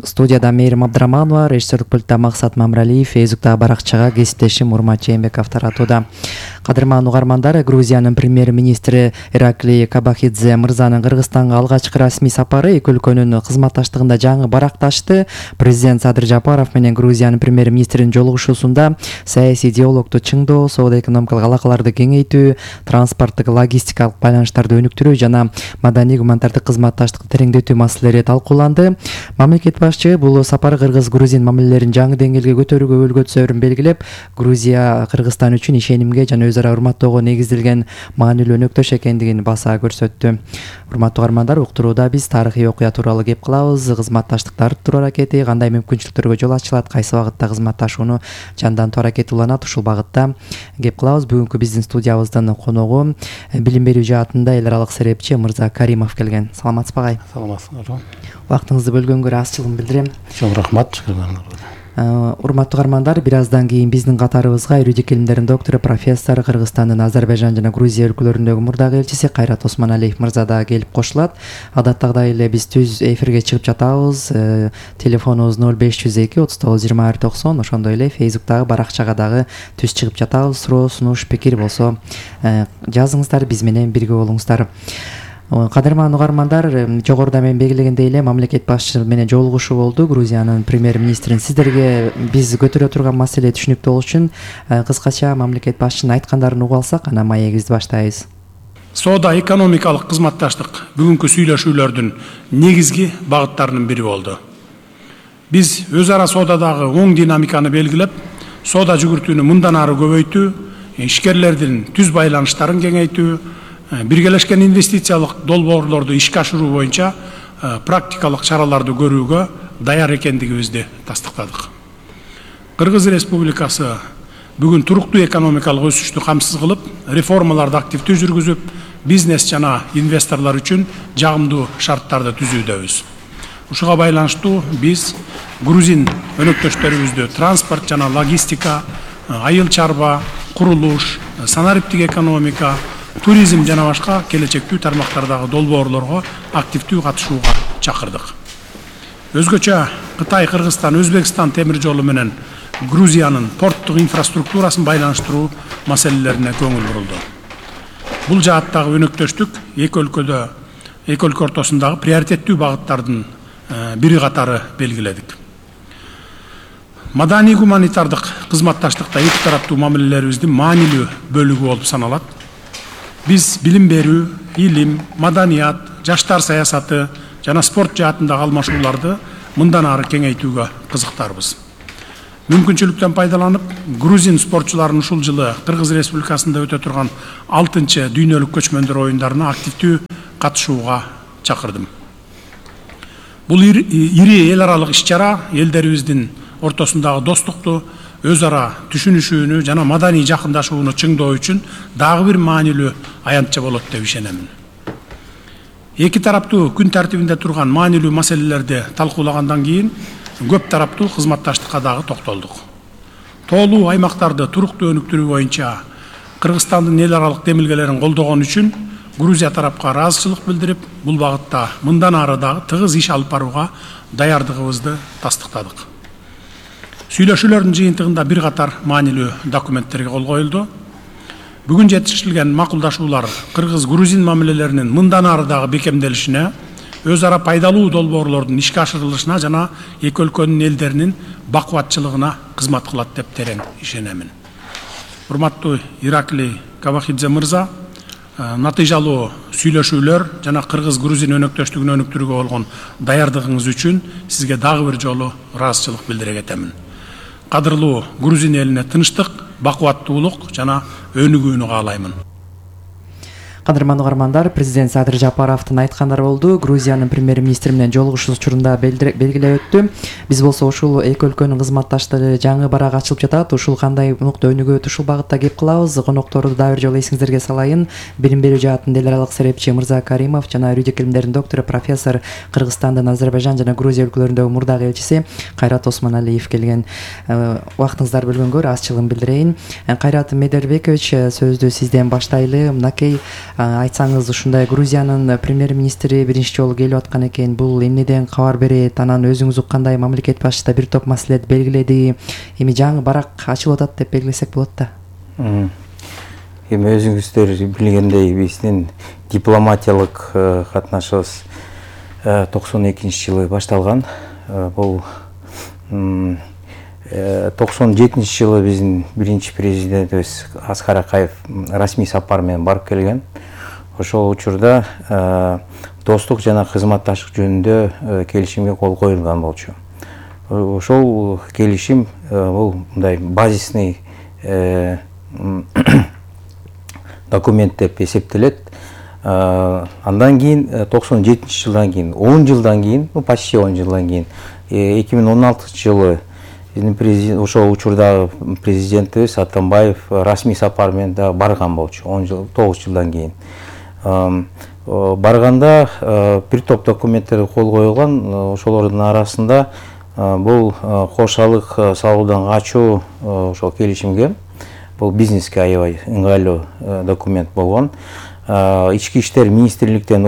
Студияда Мээрим Абдыраманова, режиссерлук пультта Максат Мамралиев, Фейсбуктагы баракчага кесиптешим Урмат Жээнбеков таратууда. Кадырман угармандар, Грузиянын премьер-министри Ираклий Кабахидзе мырзанын Кыргызстанга алгачкы расмий сапары эки өлкөнүн кызматташтыгында жаңы баракташты. Президент Садыр Жапаров менен Грузиянын премьер-министринин жолугушуусунда саясий диалогду чыңдоо, соода-экономикалык алакаларды кеңейтүү, транспорттук логистикалык байланыштарды өнүктүрүү жана маданий гуманитардык кызматташтыкты тереңдетүү маселелери талкууланды. Мамлекет башчы бул сапар кыргыз-грузин мамилелерин жаңы деңгээлге көтөрүүгө өлгө түсөрүн белгилеп, Грузия Кыргызстан үчүн ишенимге жана өз ара урматтоого негизделген маанилүү өнөктөш экендигин баса көрсөттү. Урматтуу угармандар, уктурууда биз тарыхый окуя тууралуу кеп кылабыз. Кызматташтыкты арттыруу аракети кандай мүмкүнчүлүктөргө жол ачылат, кайсы багытта кызматташууну жандантуу аракет уланат, ушул багытта кеп кылабыз. Бүгүнкү биздин студиябыздын коногу билим берүү жаатында эл аралык серепчи Мырза Каримов келген. Саламатсызбы агай? Саламатсыздарбы. Убактыңызды бөлгөнгө ыраазычылыгымды билдирем. Чоң рахмат. Урматтуу угармандар, бир аздан кийин биздин катарыбызга юридик илимдердин доктору, профессор, Кыргызстандын Азербайжан жана Грузия өлкөлөрүндөгү мурдагы элчиси Кайрат Осмоналиев мырза да келип кошулат. Адаттагыдай эле биз түз эфирге чыгып жатабыз. Телефонубуз 0502 39 21 90. Ошондой эле Фейсбуктагы баракчага дагы түз чыгып жатабыз. Суроо, сунуш, пикир болсо жазыңыздар, биз менен бирге болуңуздар. Кадырман угармандар, жогоруда мен белгилегендей эле мамлекет башчысы менен жолугушуу болду. Грузиянын премьер-министрин сиздерге биз көтөрө турган маселе түшүнүктүү болуш үчүн кыскача мамлекет башчынын айткандарын угуп алсак, анан маегибизди баштайбыз. Соода экономикалык кызматташтык бүгүнкү сүйлөшүүлөрдүн негизги багыттарынын бири болду. Биз өз ара соодадагы оң динамиканы белгилеп, соода жүгүртүүнү мындан ары көбөйтүү, ишкерлердин түз байланыштарын кеңейтүү, биргелешкен инвестициялык долбоорлорду ишке ашыруу боюнча практикалык чараларды көрүүгө даяр экендигибизди тастыктадык. Кыргыз Республикасы бүгүн туруктуу экономикалык өсүштү камсыз кылып, реформаларды активдүү жүргүзүп, бизнес жана инвесторлор үчүн жагымдуу шарттарды түзүүдөбүз. Ушуга байланыштуу биз грузин өнөктөштөрүбүздү транспорт жана логистика, айыл чарба, курулуш, санариптик экономика, туризм жана башка келечектүү тармактардагы долбоорлорго активдүү катышууга чакырдык. Өзгөчө Кытай, Кыргызстан, Өзбекстан темир жолу менен Грузиянын порттук инфраструктурасын байланыштыруу маселелерине көңүл бурулду. Бул жааттагы өнөктөштүк эки өлкө ортосундагы приоритеттүү багыттардын бири катары белгиледик. Маданий гуманитардык кызматташтыкта эки тараптуу мамилелерибиздин маанилүү бөлүгү болуп саналат. Биз билим берүү, илим, маданият, жаштар саясаты жана спорт жаатындагы алмашууларды мындан ары кеңейтүүгө кызыктарбыз. Мүмкүнчүлүктөн пайдаланып, грузин спортчуларын ушул жылы Кыргыз Республикасында өтө турган 6-чы дүйнөлүк көчмөндөр оюндарына активдүү катышууга чакырдым. Бул ири эл аралык иш-чара элдерибиздин ортосундагы достукту, өз ара түшүнүшүүнү жана маданий жакындашууну чыңдоо үчүн дагы бир маанилүү аянтча болот деп ишенемин. Эки тараптуу күн тартибинде турган маанилүү маселелерди талкуулагандан кийин көп тараптуу кызматташтыкка дагы токтолдук. Тоолуу аймактарды туруктуу өнүктүрүү боюнча Кыргызстандын эл аралык демилгелерин колдогон үчүн Грузия тарапка ыраазычылык билдирип, бул багытта мындан ары дагы тыгыз иш алып барууга даярдыгыбызды тастыктадык. Сүйлөшүүлөрдүн жыйынтыгында бир катар маанилүү документтерге кол коюлду. Бүгүн жетишилген макулдашуулар кыргыз-грузин мамилелеринин мындан ары дагы бекемделишине, өз ара пайдалуу долбоорлордун ишке ашырылышына жана эки өлкөнүн элдеринин бакубатчылыгына кызмат кылат деп терең ишенемин. Урматтуу Ираклий Кабахидзе мырза, натыйжалуу сүйлөшүүлөр жана кыргыз-грузин өнөктөштүгүн өнүктүрүүгө болгон даярдыгыңыз үчүн сизге дагы бир жолу ыраазычылык билдире кетемин. Кадырлуу грузин элине тынчтык, бакубаттуулук жана өнүгүүнү каалаймын. Кадырман угармандар, президент Садыр Жапаровдун айткандары болду. Грузиянын премьер-министри менен жолугушуу учурунда белгилеп өттү. Биз болсо ушул эки өлкөнүн кызматташтыгы жаңы барак ачылып жатат. Ушул кандай нукта өнүгөт, ушул багытта кеп кылабыз. Конокторду дагы бир жолу эсиңиздерге салайын. Билим берүү жаатында эл аралык серепчи Мырза Каримов жана юридик илимдердин доктору профессор Кыргызстандын Азербайжан жана Грузия өлкөлөрүндөгү мурдагы элчиси Кайрат Осмоналиев келген. Убактыңыздарды бөлгөнгө ыраазычылыгымды билдирейин. Кайрат Медербекович, сөздү сизден баштайлы. Мынакей айтсаңыз, ушундай Грузиянын премьер-министри биринчи жолу келип аткан экен. Бул эмнеден кабар берет? Анан өзүңүз уккандай мамлекет башчысы да бир топ маселелерди белгиледи. Эми жаңы барак ачылып атат деп белгилесек болот да. Эми өзүңүздөр билгендей, биздин дипломатиялык катнашыбыз 92-жылы башталган. Бул 97 жылы биздин биринчи президентибиз Аскар Акаев расмий сапар менен барып келген. Ошол учурда достук жана кызматташтык жөнүндө келишимге кол коюлган болчу. Ошол келишим бул мындай базисный документ деп эсептелет. Андан кийин 97-жылдан кийин, 10 жылдан кийин, почти 10 жылдан кийин 2016-жылы президент, ошол учурдагы президентибиз Атамбаев расмий сапар менен да барган болчу. 9 жылдан кийин. Барганда бир топ документтерге кол коюлган. Ошолордун арасында бул кошалык салуудан качуу ошол келишимге, бул бизнеске аябай ыңгайлуу документ болгон. Ички иштер министрликтен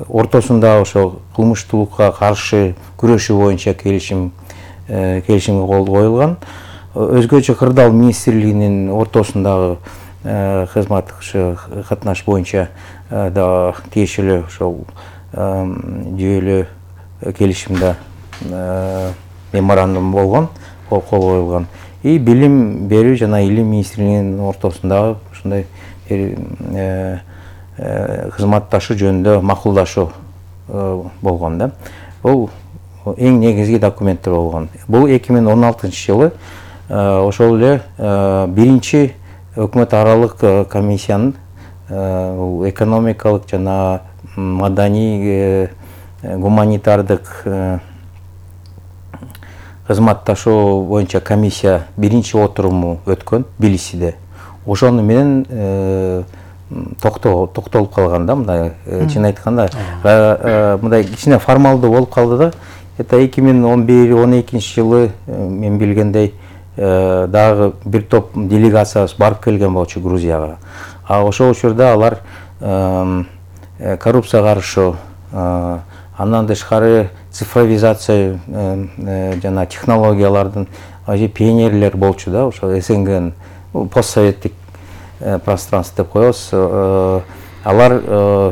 ортосунда ошол кылмыштуулукка каршы күрөшүү боюнча келишимге кол коюлган. Өзгөчө кырдаал министрлигинин ортосундагы кызматтык катнаш боюнча да тиешелүү ошол жүйөлүү келишимде меморандум болгон, кол коюлган. И билим берүү жана илим министрлигинин ортосундагы ушундай кызматташуу жөнүндө макулдашуу болгон да. Бул эң негизги документтер болгон. Бул 2016-жылы ошол эле биринчи өкмөт аралык комиссиянын экономикалык жана маданий гуманитардык кызматташуу боюнча комиссия биринчи отуруму өткөн Тбилисиде. Ошону менен токтолуп калган да, мындай чын айтканда мындай кичине формалдуу болуп калды да. Это 2011-12 жылы мен билгендей дагы бир топ делегациябыз барып келген болчу Грузияга. А ошол учурда алар коррупцияга каршы, андан тышкары цифровизация жана технологиялардын пионерлер болчу да, ошо СНГнын постсоветтик пространство деп коебуз. Алар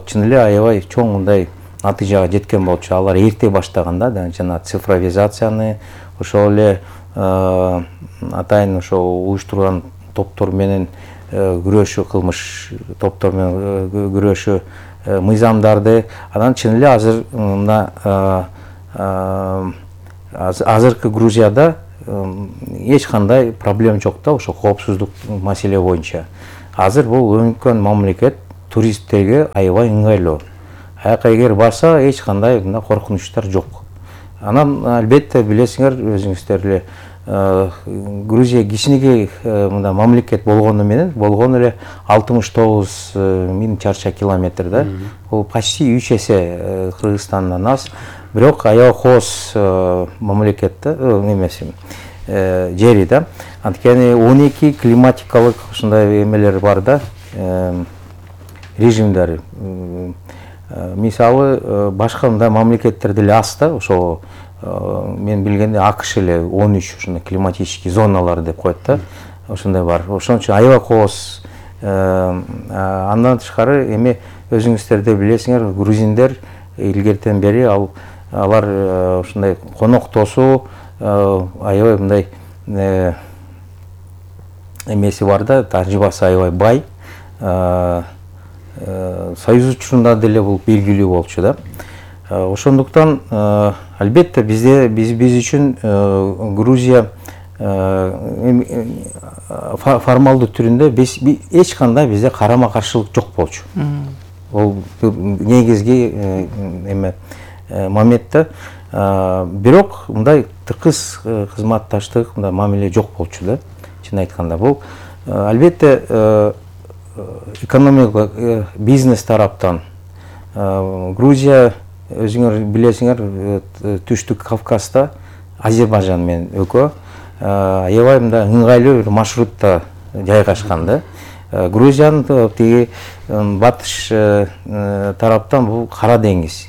чын эле аябай чоң мындай натыйжага жеткен болчу. Алар эрте баштаган да, жана цифровизацияны ошол эле атайын ошол уюштурган топтор менен күрөшүү, кылмыш топтор менен күрөшүү мыйзамдарды анан чын эле азыр мына азыркы Грузияда эч кандай проблема жок да, ошо коопсуздук маселе боюнча. Азыр бул өнүккөн мамлекет, туристтерге аябай ыңгайлуу. Аяка эгер барса эч кандай мына коркунучтар жок. Анан албетте билесиңер өзүңүздөр эле Грузия кичинекей мында мамлекет болгону менен болгон эле 69 миң чарча километр да. Бул почти 3 эсе Кыргызстандан аз. Бирок аябай кооз мамлекет да, немеси жери да. Анткени 12 климатикалык ушундай эмелер бар да, режимдер. Мисалы башка мындай мамлекеттерде эле аз да, ошо мен билгенде АКШ эле 13 ушундай климатический зоналар деп коет да, ошондой бар. Ошон үчүн аябай кооз. Андан тышкары эми өзүңүздөр да билесиңер, грузиндер илгертен бери алар ушундай конок тосуу аябай мындай эмеси бар да, тажрыйбасы аябай бай. Союз учурунда деле бул белгилүү болчу да. Ошондуктан албетте биз үчүн Грузия формалдуу түрүндө эч кандай бизде карама каршылык жок болчу. Ол негизги моментте. Бирок мындай тыкыз кызматташтык, мындай мамиле жок болчу да, чын айтканда. Бул албетте экономикалык бизнес тараптан Грузия өзүңөр билесиңер, Түштүк Кавказда Азербайжан менен экөө аябай мындай ыңгайлуу бир маршрутта жайгашкан да. Грузиянын тиги батыш тараптан бул Кара деңиз.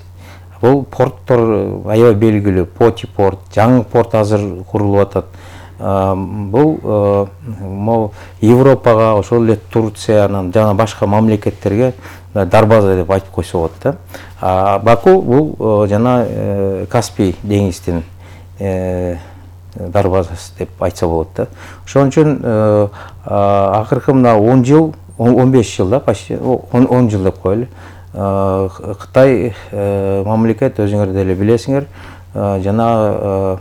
Бул порттор аябай белгилүү. Поти порт, жаңы порт азыр курулуп атат. Бул Европага, ошол эле Турциянын жана башка мамлекеттерге дарбаза деп айтып койсо болот да. Баку бул жана Каспий деңиздин дарбазасы деп айтса болот да. Ошон үчүн акыркы мына 10 жыл, 15 жыл да, почти 10 жыл деп коелу. Кытай мамлекет өзүңөр деле билесиңер, жана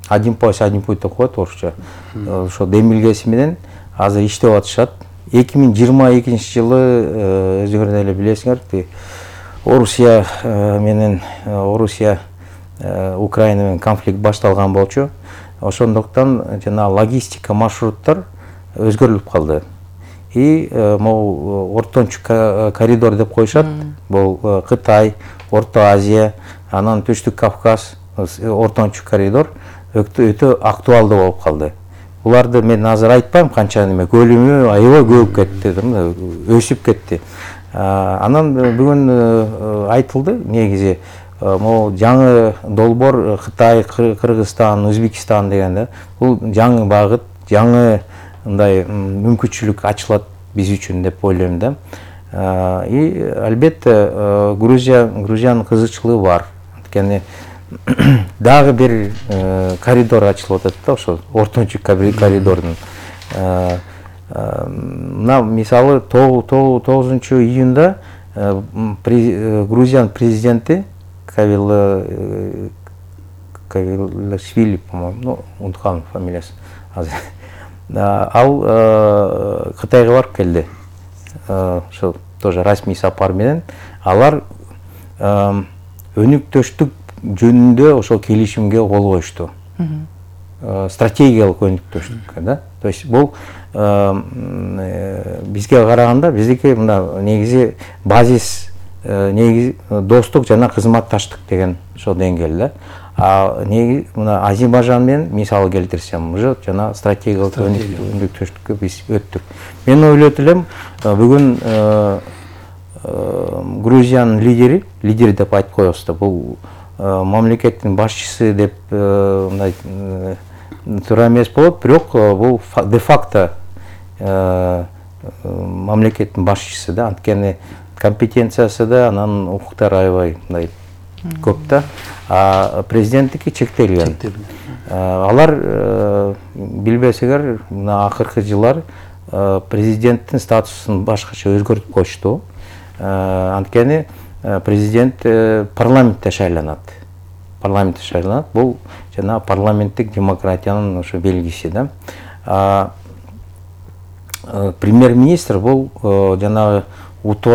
один пояс, один путь деп коет орусча. Ошо демилгеси менен азыр иштеп атышат. 2022 жылы өзүңөр деле билесиңер, Орусия менен Украина менен конфликт башталган болчу. Ошондуктан жана логистика маршруттар өзгөрүлүп калды. И могу ортончу коридор деп коюшат. Бул Кытай, Орто Азия, анан Түштүк Кавказ, ортончу коридор өтө актуалдуу болуп калды. Буларды мен азыр айтпайм, канча неме көлүмү аябай көбүп кетти, өсүп кетти. Анан бүгүн айтылды негизи могу жаңы долбоор Кытай, Кыргызстан, Өзбекстан дегенде бул жаңы багыт, жаңы мындай мүмкүнчүлүк ачылат биз үчүн деп ойлойм да. И албетте Грузиянын кызыкчылыгы бар. Анткени дагы бир коридор ачылып атат да, ошо ортончу коридордун. Мына мисалы 9 июнда Грузиянын президенти Кавилашвили, по-моему, унуткам фамилиясын азыр. Ал Кытайга барып келди. Ошо тоже расмий сапар менен алар өнүктөштүк жөнүндө ошол келишимге кол коюшту. Стратегиялык өнүктөштүккө да. То есть бул бизге караганда биздики мына негизи базис, негизи достук жана кызматташтык деген ошол деңгээл да. Негизи мына Азербайжан менен мисал келтирсем, уже жана стратегиялык өнүктөштүккө биз өттүк. Мен ойлойт элем, бүгүн Грузиянын лидери деп айтып коебуз да, бул мамлекеттин башчысы деп мындай туура эмес болот, бирок бул де факто мамлекеттин башчысы да, анткени компетенциясы да, анан укуктары аябай мындай көп да, а президенттики чектелген. Алар билбесеңер, мына акыркы жылдар президенттин статусун башкача өзгөртүп коюшту. Анткени президент парламентте шайланат. Бул жана парламенттик демократиянын ошо белгиси да. Премьер-министр бул жанагы